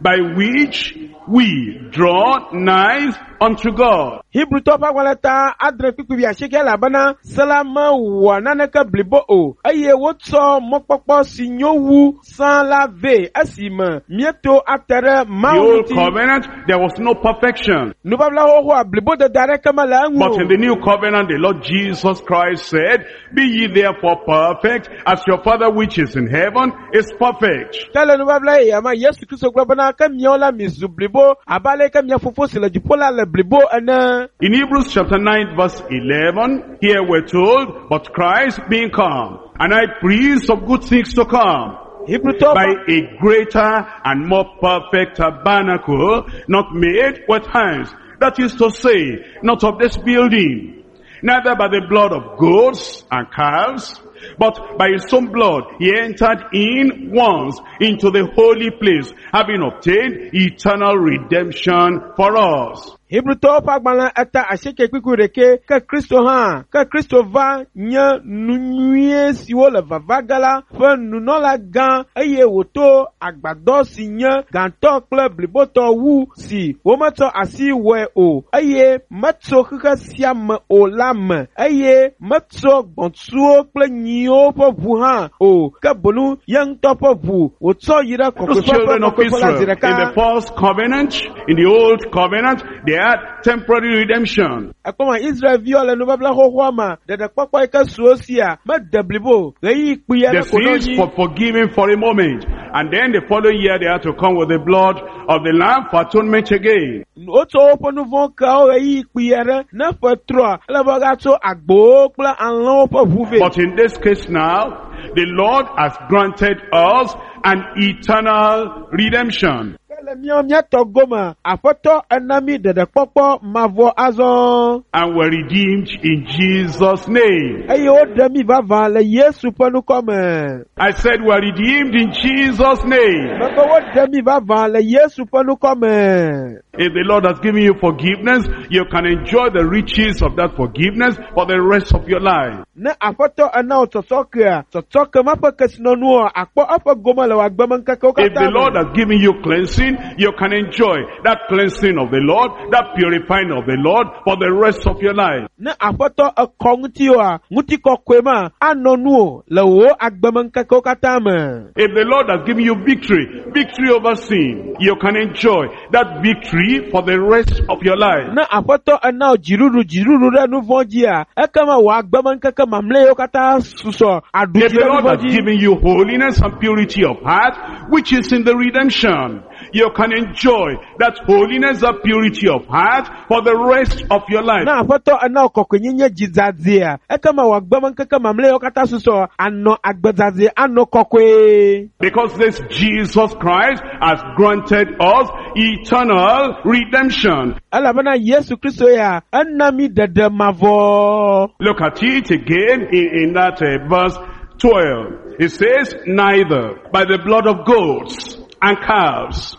by which we draw nigh unto God. Hebrewtɔwo ƒe agbalẽ ta adre kpukpui wui asieke elabena se la mewɔa naneke blibo o eye wotsɔ mɔkpɔkpɔ si nyo wu sã la vɛ esime míeto ate ɖe The Mawu old ŋuti. covenant, there was no perfection. Nubabla xoxoa blibodede aɖeke mele eŋu But in o. the new covenant, the Lord Jesus Christ said, Be ye therefore perfect, as your Father which is in heaven is perfect. Ke le nubabla yeyea me, Yesu Kristo gblɔ bena ke miawo la mizu blibo abe ale ke mia fofo si le dziƒo la le blibo ene. In Hebrews chapter nine verse eleven, here we're told, But Christ being come, and high priest of good things to come, Hebrewtɔwo by ƒe a greater and more perfect tabernacle, not made with hands, that is to say, not of this building, neither by the blood of goats and calves, but by his own blood he entered in once into the holy place, having obtained eternal redemption for us. Hebrewtɔwo ƒe agbalẽ eta asieke kpukpui ɖekɛ ke Kristo hã ke Kristo va nye nu nyuie siwo le vava ge la ƒe nunɔla gã eye wòto agbadɔ si nye gãtɔ kple blibotɔ wu si wometsɔ asi wɔe o eye metso xexe sia me o la me eye metso gbɔ̃tsuwo kple nyiwo ƒe ʋu hã o ke boŋ ye ŋutɔ ƒe ʋu wòtsɔ yi ɖe Those kɔkɔeƒe ƒe children of kɔkɔeƒe la Israel, zi in the ɖeka. first covenant, in the old covenant, they had temporary redemption. Ekpɔma Israelviwo le nubabla xoxoa me ɖeɖekpɔkpɔ yi ke su wo sia mede blibo ɣeyiɣi kpui The aɖe ko ɖo sins dzi. for forgiven for a moment. And then the following year they had to come with the blood of the lamb for atonement again. Wotsɔ woƒe nu vɔ̃ keawo ɣeyiɣi kpui aɖe ne ƒe trɔa ele be woagatso agbowo kple alẽwo ƒe ʋu vɛ. But in this case now, the Lord has granted us an eternal redemption. Ke le míawo míatɔ gome Aƒetɔ ena mí ɖeɖekpɔkpɔ mavɔ azɔ And we're redeemed in Jesus' name. eye woɖe mí vavã le Yesu ƒe ŋkɔ me. I said we're redeemed in Jesus' name. Mebe woɖe mí vavã le Yesu ƒe ŋkɔ me. If the Lord has given you forgiveness, you can enjoy the riches of that forgiveness for the rest of your life. Ne Aƒetɔ ena wò tsɔtsɔkea, tsɔtsɔke ma ƒe kesinɔnuwoa, akpɔ eƒe gome le wò agbemeŋkekewo If the katã Lord me. has given you cleansing, you can enjoy that cleansing of the Lord, that purifying of the Lord for the rest of your life. Ne Aƒetɔ ekɔ ŋutiwòa, ŋutikɔkɔe ma anɔ nuwò le wò agbemeŋkekewo katã me. If the Lord has given you victory, victory over sin, you can enjoy that victory for the rest of your life. Ne Aƒetɔ ena wò dziɖuɖu dziɖuɖu ɖe nu vɔ̃ dzia, ekema wò agbemeŋkeke mamlɛawo katã susɔ aɖu If dzi the ɖe nu Lord vɔ̃ has dzi. given you holiness and purity of heart, which is in the redemption, you can enjoy that holiness, that purity of heart for the rest of your life. Na aƒetɔ ena wò kɔkɔenyenye dzidzadzea ekema wò agbemeŋkeke mamlɛawo katã susɔ anɔ agbedzadzɛ anɔ kɔkɔe. Because this Jesus Christ has granted us eternal redemption. Elabena Yesu Kristo ya ena mi ɖeɖe mavɔ. Look at it again in, in that uh, verse twelve. It says, neither by the blood of goats and calves,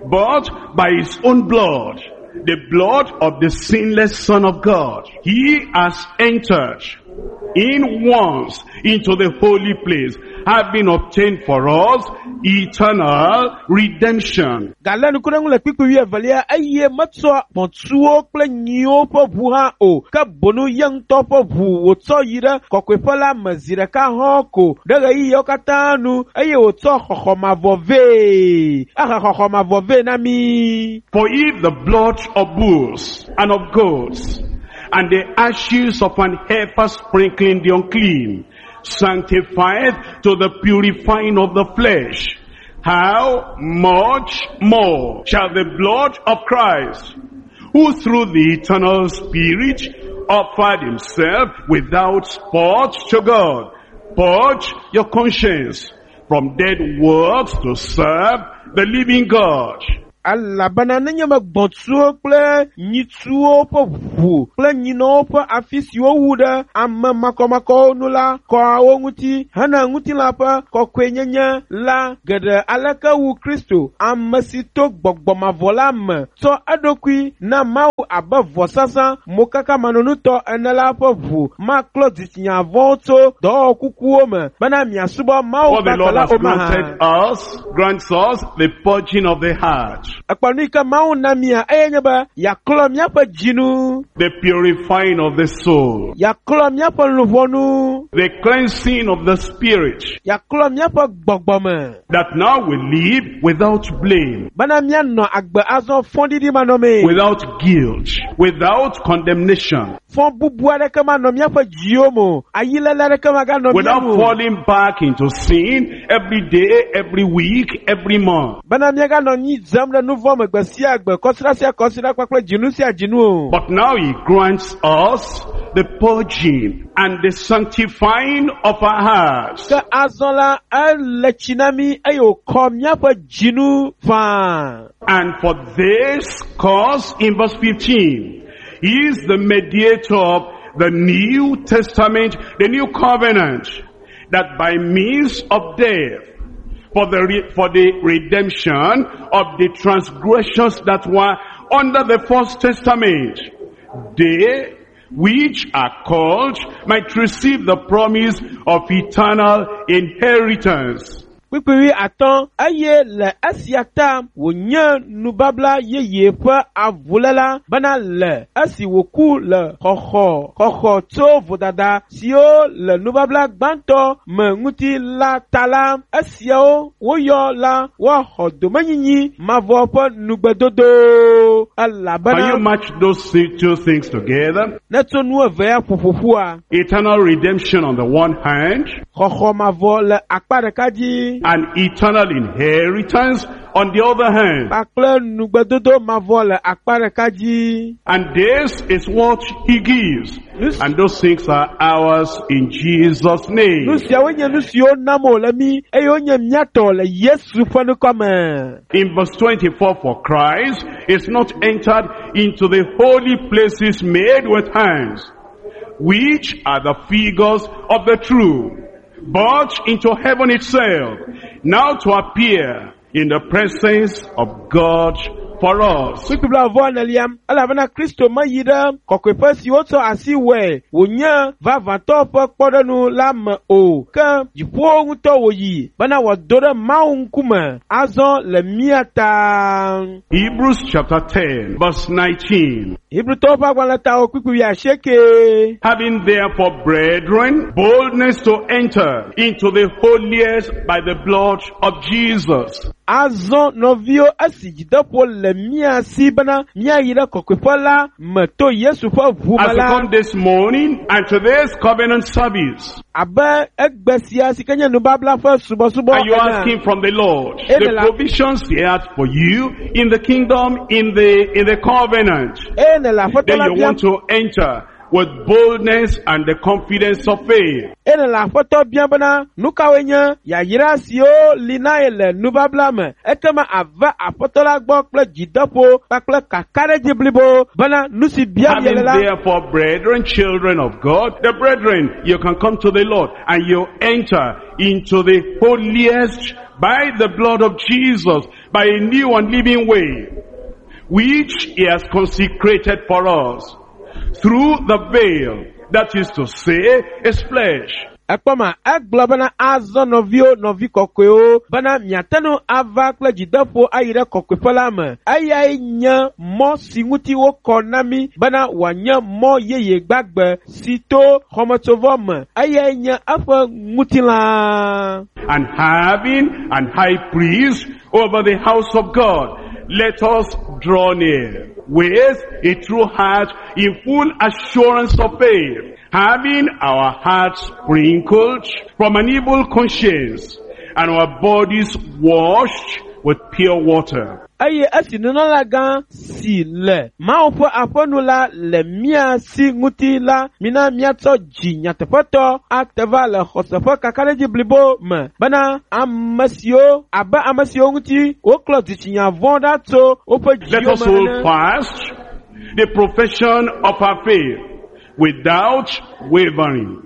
but by his own blood, the blood of the sinless Son of God, he has entered in once into the holy place, having obtained for us eternal redemption. Galé ŋku ɖe ŋu le kpukpui wuievelia eye metsɔ gbɔ̃tsuwo kple nyiwo ƒe ʋu hã o ke bonu ye ŋutɔ ƒe ʋu wòtsɔ yi ɖe kɔkɔeƒe la me zi ɖeka hɔ̃ ko ɖe ɣeyiɣiawo katã nu eye wòtsɔ xɔxɔ mavɔ vɛ. Ehe xɔxɔ mavɔ vɛ na mi. For if the blood of bulls and of goats and the ashes of an heifer sprinkling the unclean sanctifieth to the purifying of the flesh, how much more shall the blood of Christ, who through the eternal Spirit offered himself without spot to God, purge your conscience from dead works to serve the living God? Elabena nenye be gbɔ̃tsuwo kple nyitsuwo ƒe ʋu kple nyinɔwo ƒe afi si wowu ɖe ame makɔmakɔwo nu la kɔa wo ŋuti hena ŋutilã ƒe kɔkɔenyenye la geɖe aleke wu Kristo, ame si to gbɔgbɔ mavɔ la me tsɔ eɖokui na Mawu abe vɔsasa mokakamanɔnutɔ ene la ƒe ʋu maklɔ dzitsinya vɔ̃wo tso dɔwɔwɔ kukuwo me bena miasubɔ Mawu For the Lord gbagbe la has o mahã. granted us, grants us the purging of the heart, Ekpɔ nu yi ke Mawu na mia eye nye be yeaklɔ míaƒe dzinu, the purifying of the soul, yeaklɔ míaƒe luʋɔnu, the cleansing of the spirit, yeaklɔ míaƒe gbɔgbɔ me that now we live without blame, bena míanɔ agbe azɔ fɔɖiɖi manɔmee, without guilt, without condemnation, fɔ bubu aɖeke manɔ míaƒe dziwo me o, ayilele aɖeke maganɔ mía without me o, falling back into sin every day, every week, every month. bena míaganɔ anyi dzem ɖe nu vɔ̃ me gbe sia gbe, kɔsiɖa sia kɔsiɖa kpakple dzinu sia dzinu o. But now he grants us the purging and the sanctifying of our hearts. Ke azɔ la, ele tsi na mí eye wòkɔ míaƒe dzinu faa. And for this cause, in verse fifteen, he is the mediator of the New Testament, the New Covenant, that by means of death, for the, re- for the redemption of the transgressions that were under the first testament, they which are called might receive the promise of eternal inheritance. Kpukpui wuiatɔ̃ eye le esia ta wònye nubabla yeye ƒe avuléla bena le esi wòku le xɔxɔ xɔxɔ tso vodada siwo le nubabla gbãtɔ me ŋuti la ta la, esiawo woyɔ la woaxɔ domenyinyi mavɔ ƒe nugbedodo. Can you Elabena match those two things together? ne tso nu evea ƒoƒoƒua, Eternal redemption on the one hand, xɔxɔ mavɔ le akpa ɖeka dzi and eternal inheritance on the other hand. kpakple nugbedodo mavɔ le akpa ɖeka dzi. And this is what he gives. And those things are ours in Jesus' name. Nu siawo nye nu siwo nam wòle mí eye wonye mía tɔ le Yesu ƒe ŋkɔ me. In verse twenty-four, for Christ is not entered into the holy places made with hands, which are the figures of the true, but into heaven itself, now to appear in the presence of God for us. Kpukpui blaeve enelia, elabena Kristo meyi ɖe kɔkɔeƒe si wotsɔ asi wɔe wònye vavãtɔ ƒe kpɔɖeŋu la me o, ke dziƒowo ŋutɔ wòyi bena wòado ɖe Mawu ŋkume azɔ le mía ta. Hebrews chapter ten, verse nineteen. Hebrewtɔwo ƒe agbalẽtawo kpukpui wuiasieke. Having therefore, brethren, boldness to enter into the holiest by the blood of Jesus. Azɔ nɔviwo esi dzideƒo le le mía si bena míayi ɖe kɔkɔeƒe la me to Yesu ƒe ʋu me As we la come this morning and to this covenant service, abe egbe sia si ke nye nubabla ƒe subɔsubɔ and you're ene. asking from the Lord, Ene the la- provisions he has for you in the kingdom, in the, in the covenant. Eye nele aƒetɔ Then la you biam want to enter with boldness and the confidence of faith. eye nele aƒetɔ biam bena nu kawoe nye yayra siwo li na ye le nubabla me ekema ava aƒetɔ la gbɔ kple dzideƒo kpakple kakaɖedzi blibo bena nu si biam ye Having le la therefore, brethren, children of God, the brethren, you can come to the Lord and you enter into the holiest by the blood of Jesus, by a new and living way, which he has consecrated for us through the veil, that is to say, his flesh. Ekpɔ ma egblɔ bena azɔ nɔviwo nɔvi kɔkɔewo bena miate ŋu ava kple dzideƒo ayi ɖe kɔkɔeƒe la me. Eyae nye mɔ si ŋuti wokɔ na mí bena wòanye mɔ yeye gbagbe si to xɔmetsovɔ me. Eyae nye eƒe ŋutilã. And having an high priest over the house of God, let us draw near with a true heart in full assurance of faith, having our hearts sprinkled from an evil conscience and our bodies washed with pure water. Eye esi nunɔlagã si le Mawu ƒe aƒenu la le mía si ŋuti la, mina míatsɔ dzi nyateƒetɔ ate va le xɔse ƒe kakaɖedzi blibo me bena ame siwo abe ame siwo ŋuti woklɔ dzitsinya vɔ̃ ɖa tso woƒe Let dziwo us me hold ene. fast the profession of our faith without wavering,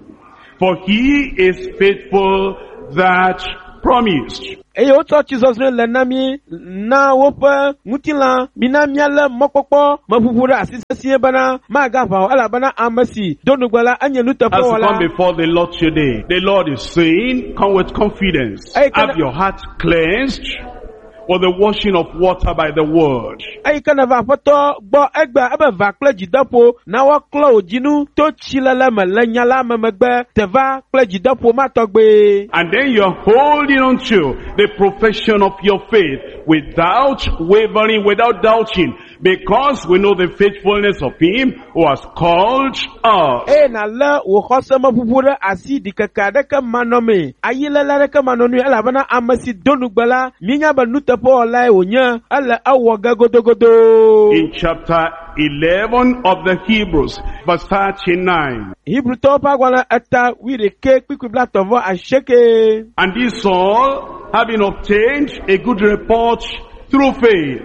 for he is faithful that promised. Eye wotsɔ tsizɔzrɔ̃e le na mí na woƒe ŋutilã mina míalé mɔkpɔkpɔ meʋuʋu ɖe asi sesĩe bena magaʋã o elabena ame si do nugbe la enye As you nuteƒewɔla. come before the Lord today, the Lord is saying, come with confidence. Hey, can Have I- your heart cleansed with the washing of water by the word. Eyi ke neva aƒetɔ gbɔ egbea ebe va kple dzideƒo na woaklɔ wò dzinu to tsilele me le nya la me megbe teva kple dzideƒo ma tɔgbe. And then you're holding on to the profession of your faith without wavering, without doubting, because we know the faithfulness of him who has called us. Eye nàlé wò xɔsemeʋuʋu ɖe asi ɖikeke aɖeke manɔmee, ayilele aɖeke manɔnui elabena ame si do nugbe la, míenya be nuteƒewɔlae wònye, ele ewɔ ge godogodo. In chapter eleven of the Hebrews, verse thirty-nine. Hebrewtɔwo ƒe agbalẽ eta wuiɖekɛ kpukpui blaetɔ̃ vɔ asieke. And this all, having obtained a good report through faith,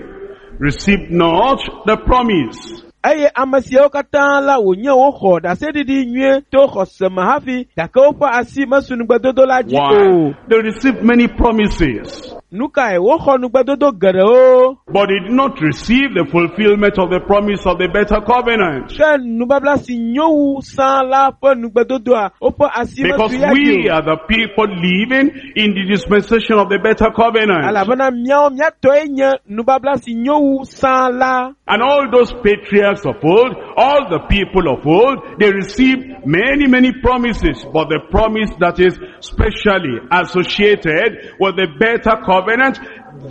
received not the promise. Eye ame siawo katã la wònye woxɔ ɖaseɖiɖi nyuie to xɔse me hafi gake woƒe asi mesu nugbedodo la dzi o. Why? They received many promises, Nu kae woxɔ nugbedodo geɖewo but they did not receive the fulfillment of the promise of the better covenant. ke nubabla si nyo wu sã la ƒe nugbedodoa woƒe asi Because mesu ya dzi we o. are the people living in the dispensation of the better covenant. Elabena míawo míatɔe nye nubabla si nyo wu sã la. And all those patriarchs of old, all the people of old, they received many, many promises. But the promise that is specially associated with the better covenant,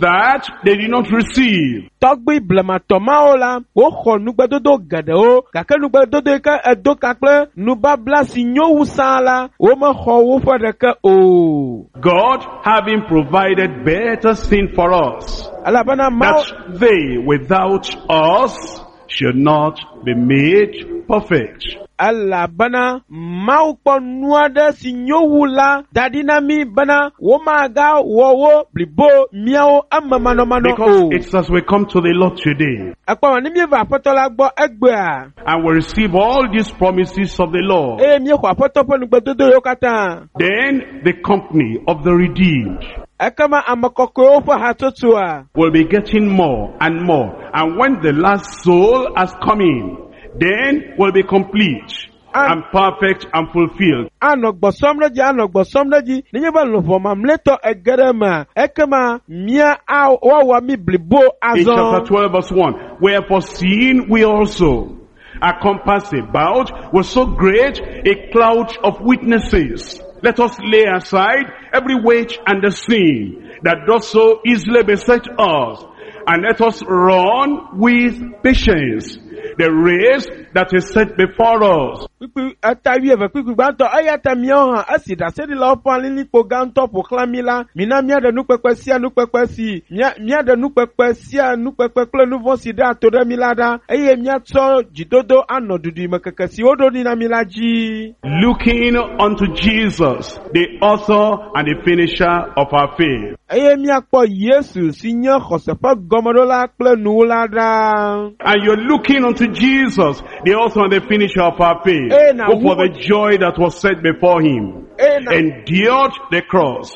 that they did not receive. Tɔgbui blematɔ mawo la, woxɔ nugbedodo geɖewo gake nugbedodo yi ke edo ka kple nubabla si nyo wu sã la, womexɔ woƒe ɖeke o. God having provided better sin for us, Elabena Mawu that they without us should not be made perfect. elabena Mawu kpɔ nu aɖe si nyo wu la da ɖi na mí bena womagawɔ wo blibo míawo eme manɔmanɔ Because o. it's as we come to the Lord today Ekpɔ ma ne míeva aƒetɔ la gbɔ egbea and we receive all these promises of the Lord, eye míexɔ aƒetɔ ƒe nugbedodo yiwo katã. then the company of the redeemed Ekema ame kɔkɔewo ƒe hatsotsoa will be getting more and more. And when the last soul has come in, then will be complete and perfect and fulfilled. anɔ gbɔsɔm ɖe dzi anɔ gbɔsɔm ɖe dzi nenye be luʋɔ mamlɛtɔ ege ɖe emea ekema mía a- woawɔ mí blibo In chapter azɔ. twelve verse one, wherefore seeing we also are compassed about with so great a cloud of witnesses, let us lay aside every weight and the sin that does so easily beset us, And let us run with patience the race that is set before us. Kpukpui eta wuieve kpukpui gbãtɔ eya ta míawo hã esi ɖaseɖilawo ƒe alilikpo gãtɔ ƒo xlã mí la mina míaɖe nukpekpe sia nukpekpe si mía míaɖe nukpekpe sia nukpekpe kple nu vɔ̃ si ɖea to ɖe mí la ɖa eye míatsɔ dzidodo anɔ duɖimekeke si woɖo ɖi na mí la dzi. Looking unto Jesus, the author and the finisher of our faith. Eye míakpɔ Yesu si nye xɔse ƒe gɔmeɖola kple nuwula ɖa. And you're looking unto Jesus, the author and the finisher of our faith, Eh, now who for who- the joy that was set before him Eye na endured the cross,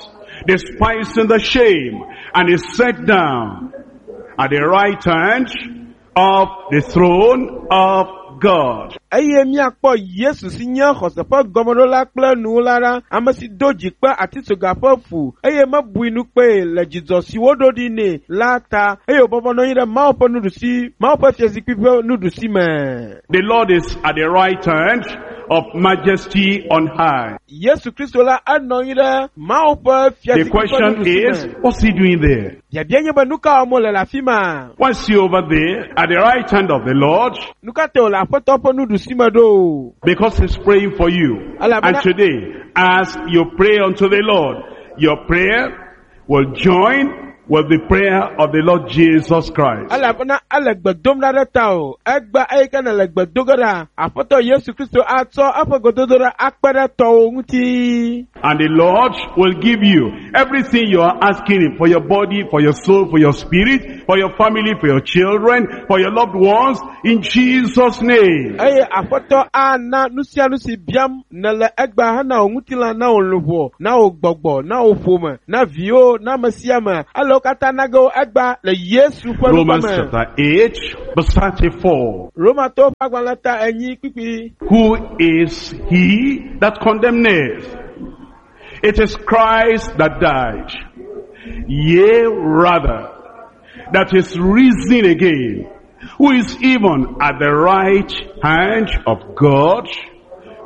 despising the shame, and is set down at the right hand of the throne of God. eye míakpɔ Yesu si nye xɔse ƒe gɔmeɖola kple nuwula ɖa, ame si do dzi kpe atitsoga ƒe fu eye mebui nu kpee le dzidzɔ si woɖo ɖi nɛ la ta eye wòbɔbɔ nɔ anyi ɖe Mawu ƒe nuɖusi Mawu ƒe fiazikpui ƒe nuɖusi me. The Lord is at the right hand of majesty on high. Yesu Kristo la enɔ anyi ɖe Mawu ƒe The fiazikpui ƒe question nuɖusi is, me. what's he doing there? Biabia nye be nu ka wɔm wòle le afi ma? Why is he over there at the right hand of the Lord? Nu ka ta wòle Aƒetɔ ƒe nuɖusi me ɖo? Because he's praying for you. Alabama- And today, as you pray unto the Lord, your prayer will join with the prayer of the Lord Jesus Christ. Elabena ele gbe dom ɖa ɖe ta o. Egbe eyi ke nele gbe do ge ɖa, Aƒetɔ Yesu Kristo atsɔ eƒe gbedodoɖa akpe ɖe tɔwò ŋuti. And the Lord will give you everything you are asking him for your body, for your soul, for your spirit, for your family, for your children, for your loved ones, in Jesus' name. Eye Aƒetɔ ana nu sia nu si biam nele egbea hena wò ŋutilã, na wò luʋɔ, na wò gbɔgbɔ, na wò ƒome, na viwo, na ame sia ame. Ele wo katã na ge wo egbea le Yesu ƒe ŋkɔ Romans me. chapter eight, verse thirty-four. Romatɔwo ƒe agbalẽ ta enyi kpukpui. Who is he that condemneth? It is Christ that died. Yea, rather, that is risen again, who is even at the right hand of God,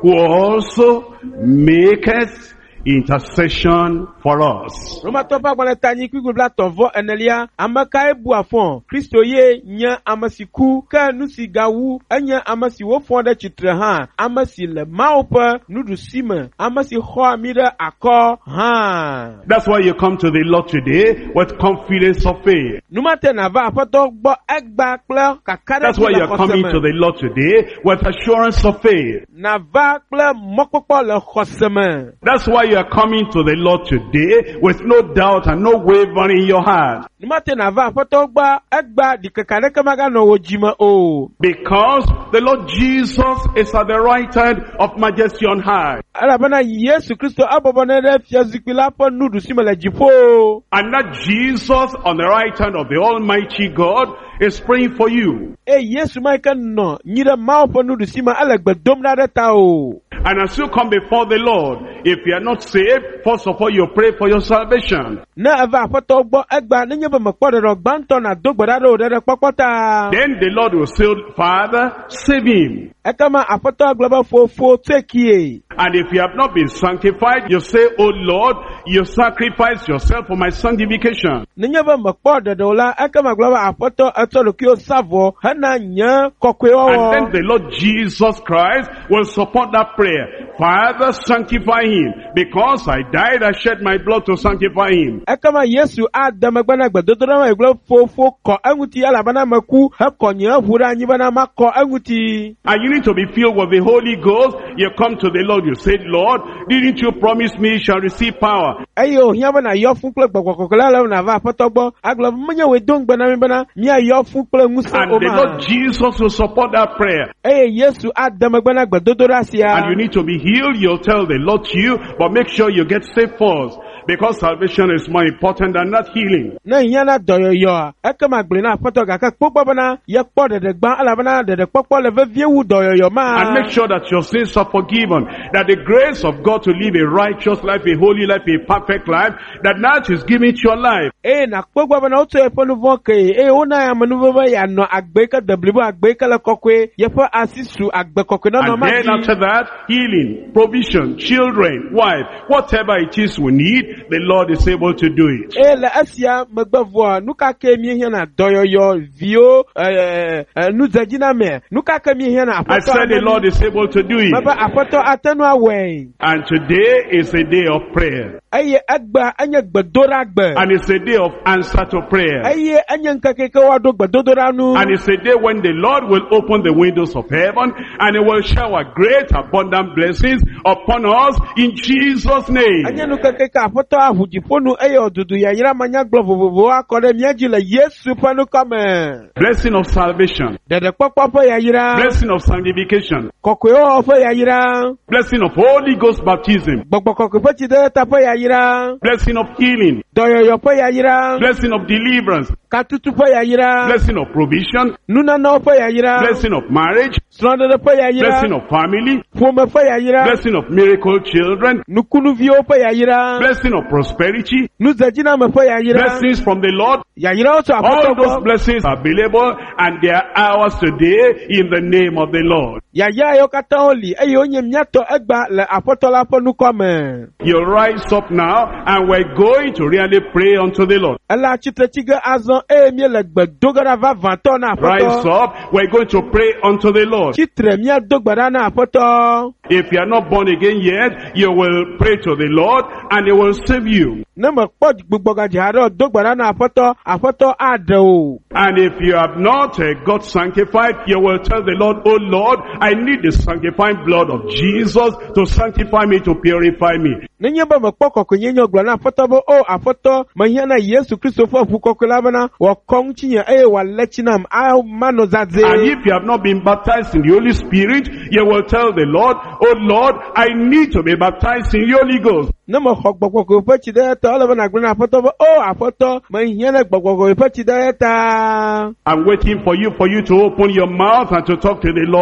who also maketh intercession for us. Romatɔwo ƒe agbalẽ ta enyi kpukpui blaetɔ̃ vɔ enelia. Ame kae bua fɔ? Kristo ye nye ame si ku ke nu si gawu enye ame si wofɔ ɖe tsitre hã, ame si le Mawu ƒe nuɖusi me, ame si xɔa mí ɖe akɔ hã. That's why you come to the Lord today with confidence of faith. Nu ma te nàva Aƒetɔ gbɔ egbea kple That's kakaɖedzi why le you're xɔse coming me. to the Lord today with assurance of faith. Nàva kple mɔkpɔkpɔ le xɔse me. That's why you are coming to the Lord today with no doubt and no wavering in your heart. Nu ma te nàva Aƒetɔ gbɔ egbea ɖikeke aɖeke maganɔ wò dzime o. Because the Lord Jesus is at the right hand of majesty on high. Elabena Yesu Kristo ebɔbɔ nɔ ɖe fiazikpui la ƒe nuɖusi me le dziƒo. And that Jesus on the right hand of the Almighty God is praying for you. Eye Yesu ma yi ke nɔ nyi ɖe Mawu ƒe nuɖusi me ele gbe dom ɖa ɖe ta o. And as you come before the Lord, if you are not saved, first of all you pray for your salvation. Ne eva Aƒetɔ gbɔ egbea nenye be mekpɔ ɖeɖe o, gbãtɔ nàdo gbe ɖa ɖe wò ɖeɖekpɔkpɔ ta. Then the Lord will say, Father, save him. Ekema Aƒetɔ agblɔ be fofo tsoe kie. And if you have not been sanctified, you say, Oh Lord, you sacrifice yourself for my sanctification. Nenye be mekpɔ ɖeɖe o la, ekema gblɔ be Aƒetɔ etsɔ ɖokuiwo sa vɔ hena nye And then kɔkɔewɔwɔ. the Lord Jesus Christ will support that prayer. Father, sanctify him. Because I died, I shed my blood to sanctify him. Ekema Yesu ade megbe na gbedodoɖa ma gblɔ fofo kɔ eŋuti elabena meku hekɔ nye ʋu ɖe anyi bena makɔ eŋuti. And you need to be filled with the Holy Ghost. You come to the Lord, you say, Lord, didn't you promise me you shall receive power? Eye wòhiã be nàyɔ fũ kple gbɔgbɔ kɔkɔe la ale be nàva Aƒetɔ gbɔ agblɔ be menye wòe do ŋugbe na mí bena míayɔ fũ kple ŋusẽ And o the ma. Lord Jesus will support that prayer. Eye Yesu ade megbe na gbedodoɖa sia. And you need to be healed, you'll tell the Lord to you, but make sure you get saved first. Because salvation is more important than that healing. Ne hiã na dɔyɔyɔa, ekema gblɔe na Aƒetɔ gake kpɔ gbɔ bena yekpɔ ɖeɖe gbã elabena ɖeɖekpɔkpɔ le vevie wu dɔyɔyɔ ma. And make sure that your sins are forgiven. That the grace of God to live a righteous life, a holy life, a perfect life, that that is given to your life. Eye nàkpɔ gbɔ bena wotsɔ yeƒe nu vɔ̃ kee eye wona amenuveve yeanɔ agbe yi ke de blibo, agbe yi ke le kɔkɔe, yeƒe asi su agbe kɔkɔe nɔnɔ And ma then dzi. after that, healing, provision, children, wife, whatever it is we need, the Lord is able to do it. Eye le esia megbe vɔa, nu ka ke míehiãna dɔyɔyɔ, viwo, ɛ, ɛ, nudzedziname, nu ka ke míehiãna I aƒetɔ said the Lord is able to do it. Mebe aƒetɔ ate ŋu awɔe. And today is a day of prayer. Eye egbea enye gbedoɖagbe. And it's a day of answer to prayer. Eye enye ŋkeke ke woaɖo gbedodoɖa nu. And it's a day when the Lord will open the windows of heaven and he will shower great abundant blessings upon us in Jesus' name. Enye ŋkeke ke aƒetɔ aʋu dziƒo nu eye wòdudu yayra manyagblɔ vovovowo akɔ ɖe mía dzi le Yesu ƒe ŋkɔ me. Blessing of salvation. Ɖeɖekpɔkpɔ ƒe yayra, Blessing of sanctification. kɔkɔewɔwɔ ƒe yayra, Blessing of Holy Ghost baptism. gbɔgbɔ kɔkɔe ƒe tsidedeta ƒe yayra, Blessing of healing. dɔyɔyɔ ƒe yayra, Blessing of deliverance. katutu ƒe yayra, Blessing of provision. nunanawo ƒe yayra, Blessing of marriage. srɔ̃ɖeɖe ƒe yayra, Blessing of family. ƒome ƒe yayra, Blessing of miracle children. nukunuviwo ƒe yayra, Blessing of prosperity. nudzedziname ƒe yayra, Blessings from the Lord. yayrawo tso All aƒetɔ those gbɔ. blessings are available and they are ours today in the name of the Lord. Yayra yiwo katã woli eye wonye míatɔ egba le aƒetɔ la ƒe ŋkɔ me. You rise up now and we're going to really pray unto the Lord. Ele atsitre tsi ge azɔ eye míele gbe do ge ɖa vavãtɔ na Rise aƒetɔ. up. We're going to pray unto the Lord. Tsitre míado gbe ɖa na aƒetɔ. If you are not born again yet, you will pray to the Lord and he will save you. Ne mekpɔ gbugbɔgadzi haɖe o, do gbe ɖa na aƒetɔ, aƒetɔ aɖe o. And if you have not uh, got sanctified, you will tell the Lord, Oh Lord, I need the sanctifying blood of Jesus to sanctify me, to purify me. Nenye be mekpɔ kɔkɔenyenye o, gblɔ na aƒetɔ be, o aƒetɔ, mehiã na Yesu Kristo ƒe ʋu kɔkɔe la bena wòakɔ ŋutinye eye wòalé tsi nam, a manɔ zazɛ̃. And if you have not been baptized in the Holy Spirit, you will tell the Lord, Oh Lord, I need to be baptized in the Holy Ghost. Ne mexɔ gbɔgbɔ kɔkɔe ƒe tsi ɖe ta, ele be nàgblɔ na aƒetɔ be, o aƒetɔ, mehiã na gbɔgbɔ kɔkɔe ƒe tsi ɖe ta. I'm waiting for you, for you to open your mouth and to talk to the Lord.